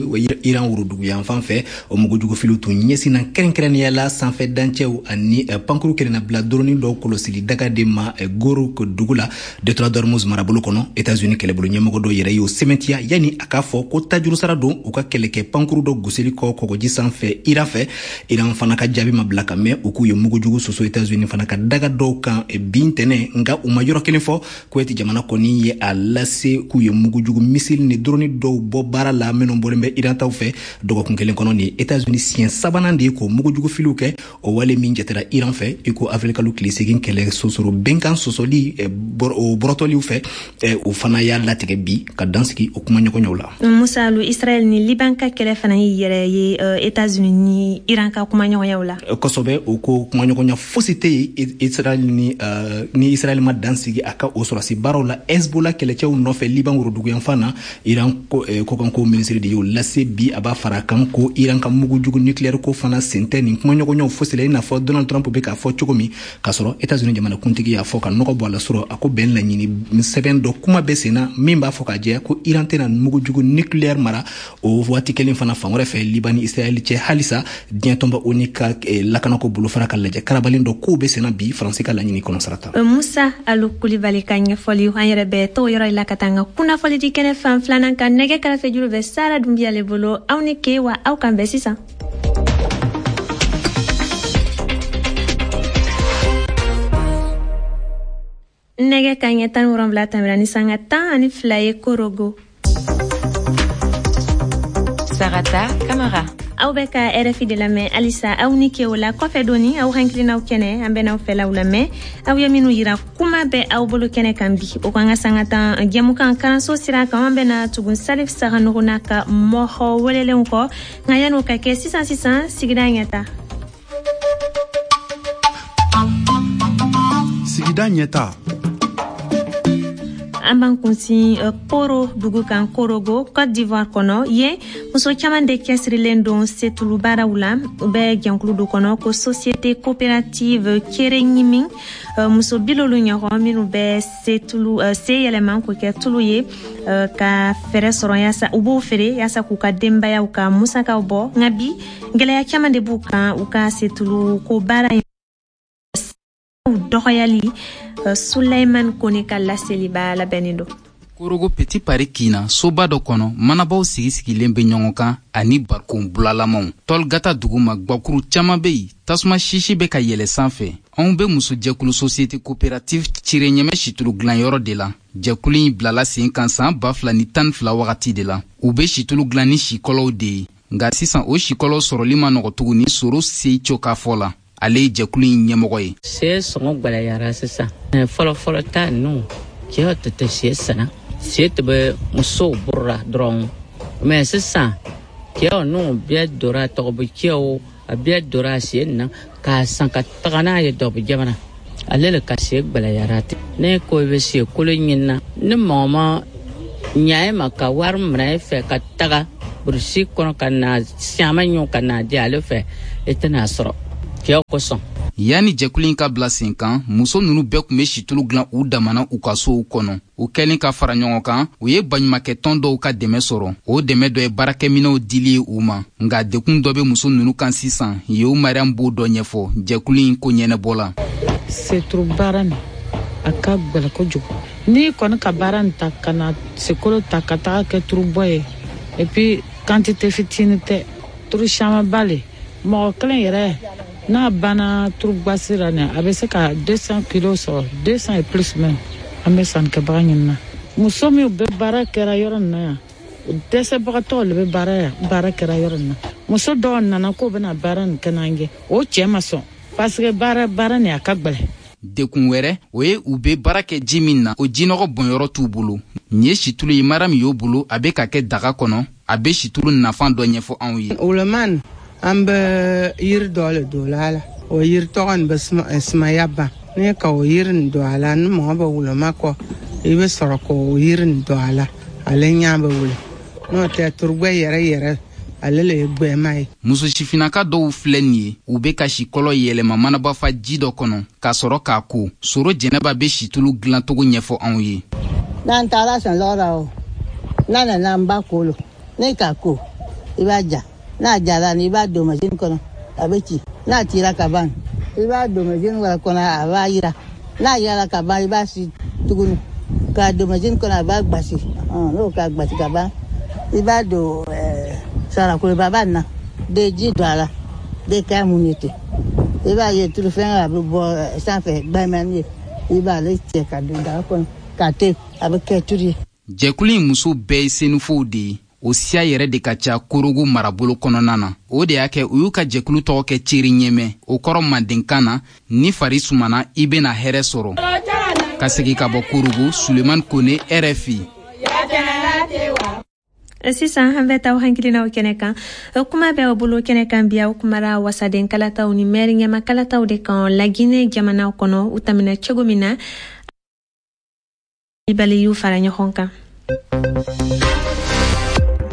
Iran woroduguyanfan fɛ, o mugujugufiliw tun ɲɛsinna kɛrɛnkɛrɛnnenya la sanfɛ dancɛw ani pankuru kelenna doroni dɔw kɔlɔsili daga de ma Goro dugu la, détroit d'Ormuz marabolo kɔnɔ. États-Unis kɛlɛbolo ɲɛmɔgɔ dɔ yɛrɛ y'o sɛmɛntiya yanni a k'a fɔ ko tajurusara don u ka kɛlɛkɛ pankuru dɔ gosili kɔ kɔgɔji sanfɛ Iran fɛ. Iran fana ka jaabi ma bila ka mɛn. U k'u ye mugujugu soso États-Unis fana ka daga dɔw kan bin tɛnɛ, nka u ma yɔrɔ kelen fɔ. Kuwait jamana kɔni ye a lase k'u ye mugujugu misili ni doroni dɔw bɔ baara la minnu bɔlen bɛ Iran taw fɛ dɔgɔkun kelen kɔnɔ. Ni États-Unis siɲɛ sabanan de ye k'o mugujugu filiw kɛ, o wale min jatera Iran fɛ i ko avril kalo tile 8 kɛlɛ sosoro bɛnkan sɔsɔli o bɔrɔtɔliw fɛ. O fana y'a latigɛ bi ka dansigi o kumaɲɔgɔnyaw la. Musa Alu, Israël ni Liban ka kɛlɛ fana y'i yɛrɛ ye États-Unis ni Iran ka kumaɲɔgɔnyaw la. Kosɛbɛ, o ko kumaɲɔgɔnya fosi tɛ yen Israël ni Israël ma dansigi a ka o sɔrɔsi baaraw la Hezbollah kɛlɛcɛw nɔfɛ Liban woroduguyanfan na. Iran kɔkanko minisiri de y'o lase bi. A b'a fara kan ko Iran ka mugujugu nucléaire ko fana sen tɛ nin kumaɲɔgɔnyaw fosi la, i n'a fɔ Donald Trump bɛ k'a fɔ cogo min, k'a sɔrɔ États-Unis jamanakuntigi y'a fɔ ka nɔgɔ bɔ a la sɔrɔ a ko bɛn laɲini sɛbɛn dɔ kuma bɛ sen na min b'a fɔ k'a jɛya ko Iran tɛna mugujugu nucléaire mara. O waati kelen fana, fan wɛrɛ fɛ, Liban ni Israël cɛ halisa, diɲɛ tɔnba ONU ka lakanako bolofara ka lajɛ karabalen dɔ kow bɛ sen na bi, Faransi ka laɲini kɔnɔ. Sarata. Musa Alu Kulibali ka ɲɛfɔli. An yɛrɛ bɛ t'o yɔrɔ la ka taa an ka kunnafoli di kɛnɛ fan filanan kan. Nɛgɛ kɛrɛfɛ juru bɛ Sara Dunbiya le bolo. Aw ni ke wa, aw kan bɛn sisan. Nɛgɛ ka ɲɛ 17 tɛmɛna ni sanga 12 ye Korogo. Sarata Kamara. Aw bɛ ka RFI de lamɛn halisa. Aw ni ke. O la kɔfɛ doni, aw hakilinaw kɛnɛ, an bɛn'aw fɛlaw lamɛn, aw ye minnu yira. Kuma bɛ aw bolo kɛnɛ kan bi, o kan ka sanga 10 jɛmukan karanso sira kan, an bɛna tugun Salif Saganogo n'a ka mɔgɔ welelenw kɔ. Nka yan'o ka kɛ, sisan sisan, sigida ɲɛta. Sigida ɲɛta. An b'an kunsin Koro dugu kan, Korogo, Côte d'Ivoire kɔnɔ. Yen muso caman de cɛsirilen don setulu baaraw la. U bɛ jɛnkulu dɔ kɔnɔ ko Société coopérative Kere Ɲimi. Muso 70 ɲɔgɔn minnu bɛ setulu se yɛlɛma k'o kɛ tulu ye ka fɛɛrɛ sɔrɔ yaasa u b'o feere yaasa k'u ka denbayaw ka musakaw bɔ. Nka bi, gɛlɛya caman de b'u kan u ka setulu ko baara in dɔgɔyali. Sulaiman Kone ka laseliba labɛnnen don. Korogo Petit Paris kin na, soba dɔ kɔnɔ, manabaw sigi sigilen bɛ ɲɔgɔn kan ani barikon bulalamaw. Tɔlgata duguma, gwakuru caaman be yen, tasuma sisi bɛ ka yɛlɛ sanfɛ. Anw be musojɛkulu Société coopérative Cire Ɲɛmɛ situlu dilanyɔrɔ de la. Jɛkulu in bilala sen kan saan 2012 wagati de la. U be situlu dilan ni sikɔlɔw de ye, nka sisan o sikɔlɔw sɔrɔli ma nɔgɔ tuguni. Soro Seico ka fɔ la, ale ye jɛkulu in ɲɛmɔgɔ ye. Se sɔngɔ gwɛlɛyara sisan. Fɔlɔfɔlɔ ta ninnu, cɛw tɛ tɛ se sanna, se tɛ bɛ musow boro dɔrɔn, mɛ sisan cɛw ninnu bɛɛ donna tɔgɔbɔ, cɛw a bɛɛ donna se na k'a san ka taga n'a ye dɔbɔ jamana. Ale le ka se gwɛlɛyara ten. Ne ko i bɛ se kolo ɲinina ni mɔgɔ ma ɲa e ma ka wari minɛ e fɛ ka taga burusi kɔnɔ ka na siaman ɲɔ ka na di ale fɛ, e tɛna sɔrɔ cɛw kosɔn. Yanni jɛkulu in ka bila sen kan, muso nunu bɛɛ tun be situlu dilan u damana u ka sow kɔnɔ. U kɛlen ka fara ɲɔgɔn kan, u ye baɲumakɛtɔn dɔw ka dɛmɛ sɔrɔ. O dɛmɛ dɔ ye baarakɛminɛw dili ye u ma, nka dekun dɔ be muso nunu kan sisan. Yewu Mariam b'o dɔ ɲɛfɔ, jɛkulu in ko ɲɛnɛbɔ la. Seturu baara nin, a ka gwɛlɛ kojugu. N'i kɔni ka baara nin ta ka na sekolo ta ka taga kɛ turubɔ ye, et puis quantité fitinin tɛ, turu camanba le. Mɔgɔ kelen yɛrɛ n'a banna turubasi la nin, a bɛ se ka 200 kilos sɔrɔ, 200 et plus même. An bɛ sannikɛbaga ɲinina. Muso minnu bɛ baara kɛra yɔrɔ nin na yan, dɛsɛbagatɔw le bɛ baara yan, baara kɛra yɔrɔ nin na. Muso dɔw nana k'o bɛna baara nin kɛ n'an ye, o cɛ ma sɔn, parce que baara nin, a ka gwɛlɛ. Dekun wɛrɛ, o ye u be baara kɛ ji min na, o jinɔgɔ bɔnyɔrɔ t'u bolo. Nin ye situlu ye Mariam y'o bolo, a be ka kɛ daga kɔnɔ. A be situlu nafan dɔ ɲɛfɔ anw ye. Woloman, an bɛ yiri dɔ le don a la, o yiri tɔgɔ nin bɛ sumaya ban. N'i ka o yiri nin don a la, ni mɔgɔ bɛ woloma kɔ, i bɛ sɔrɔ k'o yiri nin don a la, ale ɲɛ bɛ wuli. N'o tɛ, turugbɛ yɛrɛ yɛrɛ, ale le ye gwɛma ye. Muso sifinnaka dɔw filɛ nin ye, u be ka sikɔlɔ yɛlɛma manabafa ji dɔ kɔnɔ ka sɔrɔ k'a ko. Soro Jɛnɛba be situlu dilantogo ɲɛfɔ anw ye. N'an taara sɔnlɔgɔ la, o n'a nana, an b'a ko lo. N'i k'a ko, i b'a ja. N'a jara ni, i b'a don masini kɔnɔ, a bɛ ci. N'a cira ka ban, i b'a don masini wɛrɛ kɔnɔ, a b'a yira. N'a yira ka ban, i b'a si tuguni k'a don masini kɔnɔ, a b'a gbasi. N'o k'a gbasi ka ban, i b'a don sarakoloba na de, ji don a la de, k'a mun ye ten. I b'a ye tulu fɛn a bɛ bɔ sanfɛ gbɛmɛni ye, i b'ale cɛ ka don daga kɔnɔ k'a to, a bɛ kɛ tulu ye. Jɛkulu in muso bɛɛ ye senufow de ye. O siya yɛrɛ de ka ca Korogo marabolo kɔnɔna na. O de y'a kɛ u y'u ka jɛkulu tɔgɔ kɛ Ceri Ɲɛmɛ. O kɔrɔ mandenkan na, ni fari sumana, i bena hɛrɛ sɔrɔ. Ka segi ka bɔ Korogo, Suleman Kone, RFI. Sisan an bɛ taa hakilinaw kɛnɛ kan. Kuma bɛ aw bolo kɛnɛ kan bi, aw kumara wasaden kalataw ni mɛri ɲɛma kalataw de kan Laginɛ jamana kɔnɔ, u tɛmɛna cogo min na. Bali y'u fara ɲɔgɔn kan.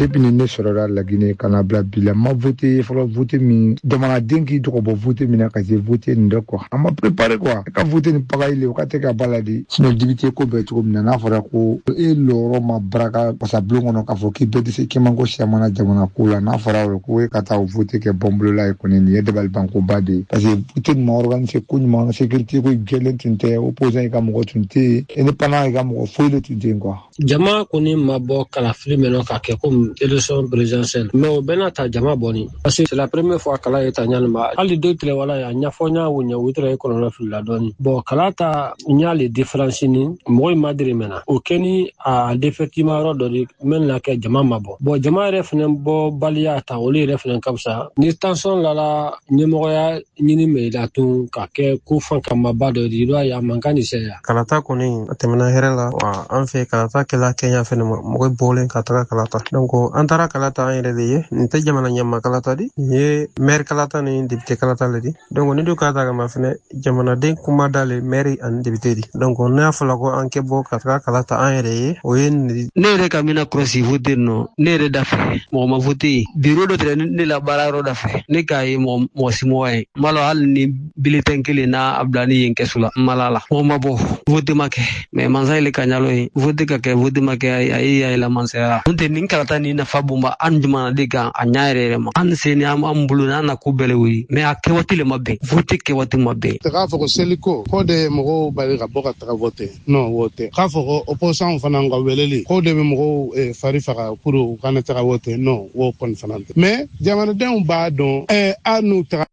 Depuis ni ne sɔrɔla Laginɛ ka na bila bi la, ma vote fɔlɔ. Vote min, jamanaden k'i tɔgɔ bɔ vote min na ka se vote nin dɛ quoi, an ma préparé quoi. Ka vote ni pagaille le, o ka tɛ ka ba la de. Sinon député ko bɛɛ cogo min na, n'a fɔra ko e lɔyɔrɔ ma baraka wasabulon kɔnɔ, k'a fɔ k'i bɛɛ tɛ se k'i man ko siyamana jamana ko la, n'a fɔra o ko e ka taa o vote kɛ bɔnbolola ye kɔni, nin ye dabalibankoba de ye, parce que vote nin ma organiser ko ɲuman, sécurité ko jɛlen tun tɛ, opposant ka mɔgɔ tun tɛ yen, indépendant ka mɔgɔ foyi de tun tɛ yen quoi. Jama kɔni ma bɔ kalafili mɛn ka kɛ komi élection présidentielle, mais o bɛɛ n'a ta, jama bɔni, parce que c'est la première fois kala ye ta ɲani ma. Hali dɔ tile wala a ɲɛfɔ ɲa o ɲɛ, o tɛrɛ ye kɔlɔlɔ filila dɔɔni. Bon, kala ta ɲa le différence ni mɔgɔ in ma diri mɛn na, o kɛ ni a défectivement yɔrɔ dɔ de mɛn na kɛ jama ma bɔ. Bon, jama yɛrɛ fɛnɛ bɔ baliya ta, olu yɛrɛ fɛnɛ ka fisa ni tension lala ɲɛmɔgɔya ɲini mɛ i la tun ka kɛ ko fan kamaba dɔ di, i b'a ye a man kan ni sɛya. Kalata kɔni, a tɛmɛna hɛrɛ la wa. An fɛ, kalata kɛla Kɛɲa fɛnɛ ma, mɔgɔ bɔlen ka taga kalata. Donc an taara kalata an yɛrɛ de ye. Nin tɛ jamana ɲɛma kalata di, nin ye maire kalata ni député kalata le di. Donc ni du k'a ta kama fɛnɛ, jamanaden kuma da le maire ani député di. Donc n'a fɔla ko an kɛ bɔ ka taga kalata an yɛrɛ ye, o ye ne yɛrɛ ka mina kɔlɔsi vote nɔ, ne yɛrɛ da fɛ, mɔgɔ ma vote yen. Biro dɔ tɛrɛ ne la baara yɔrɔ da fɛ, ne k'a ye mɔgɔ si mɔgɔ ye. N b'a lɔn hali ni bulletin kelen n'a a bila ni yen kɛsu la, n ma la la. Mɔgɔ ma bɔ, vote ma kɛ, mais mansa yɛlɛ ka ɲalo ye vote ka kɛ, vote ma kɛ, a ye y'a yɛlɛ mansaya. N'o tɛ, nin kalata nin nin nafa bonba an jamanaden kan a ɲa yɛrɛ yɛrɛ ma. An se ni an bolo n'an na ko bɛɛ le wuli, mais a kɛwaati le ma bɛn, vote kɛwaati ma bɛn. K'a fɔ ko seliko k'o de ye mɔgɔw bali ka bɔ ka taga vote, non, o tɛ. K'a fɔ ko opposant fana ka weleli k'o de bɛ mɔgɔw fari faga pour u kana taga vote, non, o kɔni fana tɛ. Mais jamanadenw b'a dɔn a n'u taga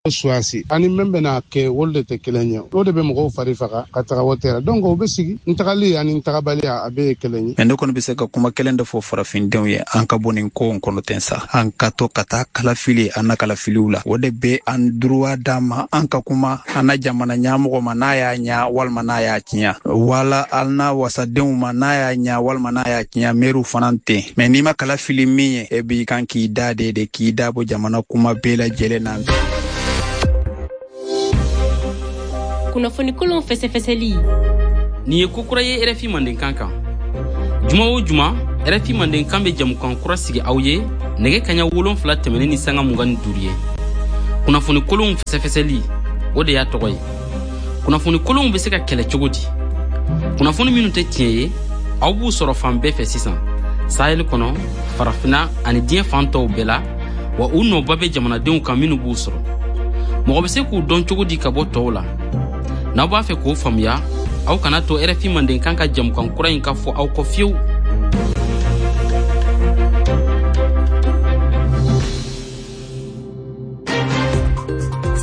suwasi ani min bɛna kɛ, olu de tɛ kelen ye. O de bɛ mɔgɔw fari faga ka taga wote la. Donc o bɛ sigi n tagali ani n tagabaliya, a bɛɛ ye kelen ye. Mais ne kɔni bɛ se ka kuma kelen de fɔ farafindenw ye: an ka bɔ nin ko kɔnɔ ten sa, an ka to ka taa kalafili an na kalafiliw la. O de bɛ an droit d'an ma, an ka kuma an na jamana ɲɛmɔgɔ ma n'a y'a ɲa walima n'a y'a tiɲɛ, wala an na wasadenw ma n'a y'a ɲa walima n'a y'a tiɲɛ, mɛriw fana ten. Mais n'i ma kalafili min ye, e b'i kan k'i da de k'i da bɔ jamana kuma bɛɛ lajɛlen na. Kunnafoni kolon fɛsɛfɛsɛli. Nin ye kokura ye RFI Mandenkan kan. Juma o juma, RFI Mandenkan bɛ jamukan kura sigi aw ye nɛgɛ kaɲa 7 tɛmɛnen ni sanga 25 ye. Kunnafoni kolonw fɛsɛfɛsɛli, o de y'a tɔgɔ ye. Kunnafoni kolonw bɛ se ka kɛlɛ cogo di? Kunnafoni minnu tɛ tiɲɛ ye, aw b'u sɔrɔ fan bɛɛ fɛ sisan, Sahel kɔnɔ, Farafina ani diɲɛ fan tɔw bɛɛ la. Wa u nɔba bɛ jamanadenw kan minnu b'u sɔrɔ. Mɔgɔ bɛ se k'u dɔn cogo di ka bɔ tɔw la? N'aw b'a fɛ k'o faamuya, aw kana to RFI Mandenkan ka jamukan kura in ka fɔ aw kɔ fiyewu.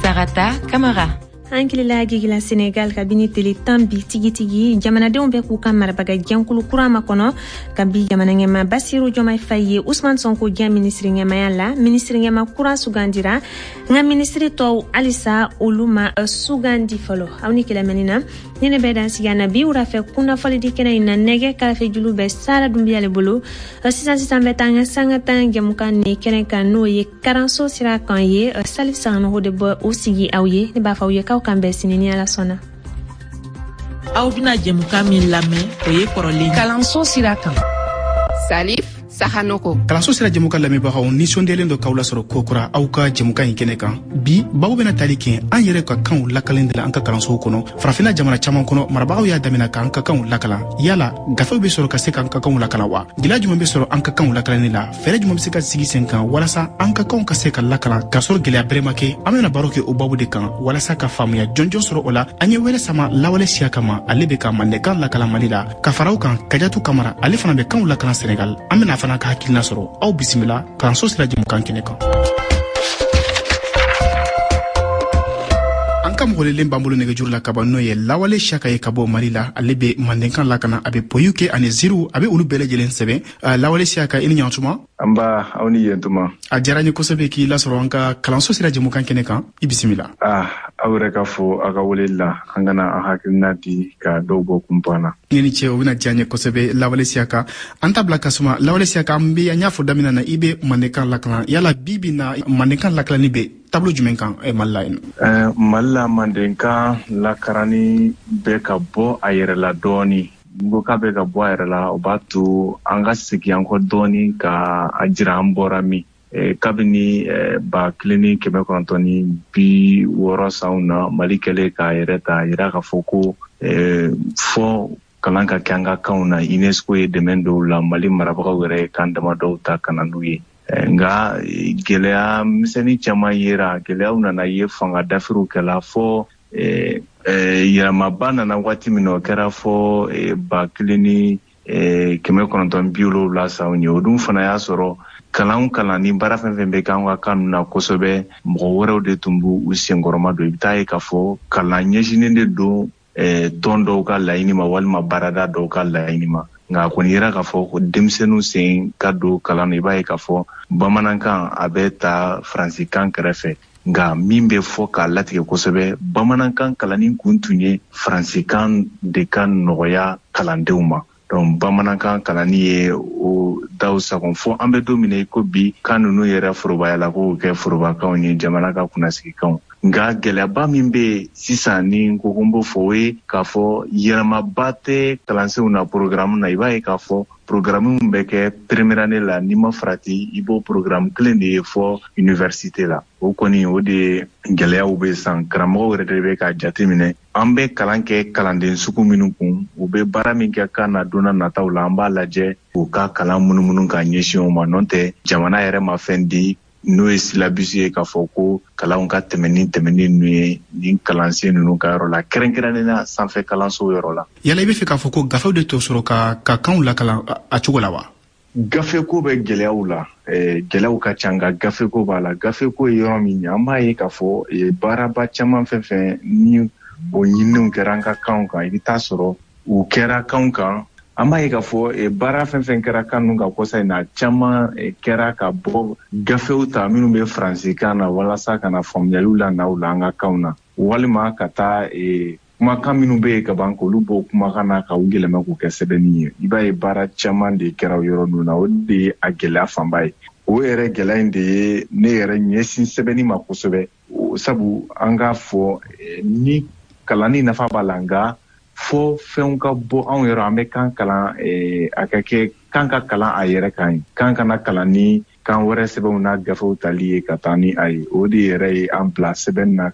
Sarata Kamara. An kilila gigila Senegal. Kabini tele 10 bi tigitigi, jamanadenw bɛ k'u ka marabaga jɛnkulu kura makɔnɔ, kabi jamana ɲɛma Basiru Jɔmai Faye ye Usman Sonko gɛn minisiri ɲɛmaya la. Minisiri ɲɛma kura sugandira, nka minisiri tɔw, halisa olu ma sugandi fɔlɔ. Aw ni kɛlɛmɛni na ni ne bɛ dan sigi na bi wurafɛ kunnafɔlidi kɛnɛ in na. Nɛgɛ karafe julu bɛ Sara Dunbiya le bolo. Sisan sisan bɛ taa an ka sanga tan jɛmukan ni kɛnɛ kan, n'o ye karanso sira kan ye. Salif Sanogo de bɔ o sigi aw ye. Ne b'a fɔ aw ye k'aw kan bɛn sini ni Ala sɔnna. Aw bɛna jɛmukan min lamɛn, o ye kɔrɔlen. Kalanso sira kan, Salif Sahanoko. Kalanso sira jɛmukan lamɛnbagaw nisɔndiyalen dɔ k'aw lasɔrɔ kokura aw ka jɛmukan in kɛnɛ kan. Bi babu bɛna tali kɛ an yɛrɛ ka kanw lakalen de la an ka kalansow kɔnɔ. Farafinna jamana caman kɔnɔ, marabagaw y'a damina k'an ka kanw lakalan. Yala gafew bɛ sɔrɔ ka se k'an ka kanw lakalan wa? Gɛlɛya jumɛn bɛ sɔrɔ an ka kanw lakalanni la? Fɛɛrɛ jumɛn bɛ se ka sigi sen kan walasa an ka kanw ka se ka lakalan k'a sɔrɔ gɛlɛya bɛrɛ ma kɛ? An bɛna baro kɛ o babu de kan walasa ka faamuya jɔnjɔn sɔrɔ o la. An ye wɛrɛ sama Lawale Siyaka ma, ale bɛ ka mandenkan lakalan Mali la, ka fara o kan Kajatu Kamara, ale fana bɛ kanw lakalan Senegal. An bɛna fana ka hakilina sɔrɔ. Aw bisimila kalanso sira jɛmukan kɛnɛ kan. An ka mɔgɔlelen b'an bolo nɛgɛjuru la kaban, n'o ye Lawale Siyaka ye ka bɔ Mali la. Ale bɛ mandenkan lakana, a bɛ poyiw kɛ ani ziiriw, a bɛ olu bɛɛ lajɛlen sɛbɛn. Lawale Siyaka, i ni ɲantuma. An ba, aw ni yentuma. A diyara n ye kosɛbɛ k'i lasɔrɔ an ka kalanso sira jɛmukan kɛnɛ kan. I bisimila. Aw yɛrɛ ka fo aw ka weleli la, an kana an hakilina di ka dɔw bɔ kunpan na. Ne ni ce, o bɛna diya n ye kosɛbɛ. Lawale Siyaka, an ta bila ka suma. Lawale Siyaka, an bɛ an y'a fɔ daminɛ na, i bɛ mandenkan lakalan. Yala bi bi na, mandenkan lakalanni bɛ taabolo jumɛn kan Mali la yen? Mali la, mandenkan lakaranni bɛ ka bɔ a yɛrɛ la dɔɔni. N ko k'a bɛ ka bɔ a yɛrɛ la, o b'a to an ka segin an kɔ dɔɔni ka a jira an bɔra min. Kabini 1960 sanw na, Mali kɛlen k'a yɛrɛ ta, yira k'a fɔ ko fɔ kalan ka kɛ an ka kanw na, UNESCO ye dɛmɛ dɔw la, Mali marabagaw yɛrɛ ye kan damadɔw ta ka na n'u ye. Nka gɛlɛya misɛnnin caman yera, gɛlɛyaw nana ye, fanga dafiriw kɛla, fɔ yɛlɛmaba nana waati min na, o kɛra fɔ 1970 sanw ye. O dun fana y'a sɔrɔ kalan kalan ni baara fɛn fɛn bɛ kɛ an ka kan ninnu na kosɛbɛ, mɔgɔ wɛrɛw de tun b'u u senkɔrɔma don. I bɛ taa ye k'a fɔ kalan ɲɛsinnen de don tɔn dɔw ka laɲini ma walima baarada dɔw ka laɲini ma. Nka a kɔni yera k'a fɔ ko denmisɛnninw sen ka don kalan na, i b'a ye k'a fɔ bamanankan a bɛ ta faransikan kɛrɛfɛ, nka min bɛ fɔ k'a latigɛ kosɛbɛ, bamanankan kalanni kun tun ye faransikan de ka nɔgɔya kalandenw ma. Donc bamanankan kalanni ye o daw sagon, fo an bɛ don min na i ko bi, kan ninnu yɛrɛ forobayala k'o kɛ forobakanw ye, jamana ka kunnasigikanw. Nka gɛlɛyaba min bɛ yen sisan ni n ko ko n b'o fɔ, o ye k'a fɔ yɛlɛmaba tɛ kalansenw na programme na. I b'a ye k'a fɔ programme min bɛ kɛ première année la, n'i ma farati, i b'o programme kelen de ye fɔ université la. O kɔni, o de ye gɛlɛyaw bɛ san. Karamɔgɔw yɛrɛ de bɛ k'a jateminɛ, an bɛ kalan kɛ kalanden sugu minnu kun, u bɛ baara min kɛ kan na don nataw la, an b'a lajɛ k'u ka kalan munumunu ka ɲɛsin o ma. N'o tɛ, jamana yɛrɛ ma fɛn di n'o ye syllabus ye k'a fɔ ko kalanw ka tɛmɛ ni tɛmɛni ninnu ye nin kalansen ninnu ka yɔrɔ la, kɛrɛnkɛrɛnnenya sanfɛ kalanso yɔrɔ la. Yala i bɛ fɛ k'a fɔ ko gafew de to sɔrɔ ka kanw lakalan a cogo la wa? Gafeko bɛ gɛlɛyaw la, gɛlɛyaw ka ca, nka gafeko b'a la. Gafeko ye yɔrɔ min ye, an b'a ye k'a fɔ baaraba caman fɛn fɛn ni o ɲininiw kɛra an ka kanw kan, i bɛ taa sɔrɔ u kɛra kanw kan. An b'a ye k'a fɔ baara fɛn fɛn kɛra kan ninnu kan kɔsa in na, caman kɛra ka bɔ gafew ta minnu bɛ faransikan na walasa ka na faamuyaliw la na u la an ka kanw na, walima ka taa kumakan minnu bɛ yen ka ban, k'olu bɔ kumakan na ka u yɛlɛma k'u kɛ sɛbɛnni ye. I b'a ye baara caman de kɛra o yɔrɔ ninnu na. O de ye a gɛlɛya fanba ye. O yɛrɛ gɛlɛya in de ye ne yɛrɛ ɲɛsin sɛbɛnni ma kosɛbɛ, sabu an k'a fɔ ni kalanni nafa b'a la, nka fɔ fɛnw ka bɔ anw yɔrɔ, an bɛ kan kalan, a ka kɛ kan ka kalan a yɛrɛ kan ye, kan kana kalan ni kan wɛrɛ sɛbɛnw n'a gafew tali ye ka taa ni a ye. O de yɛrɛ ye an bila sɛbɛnni na.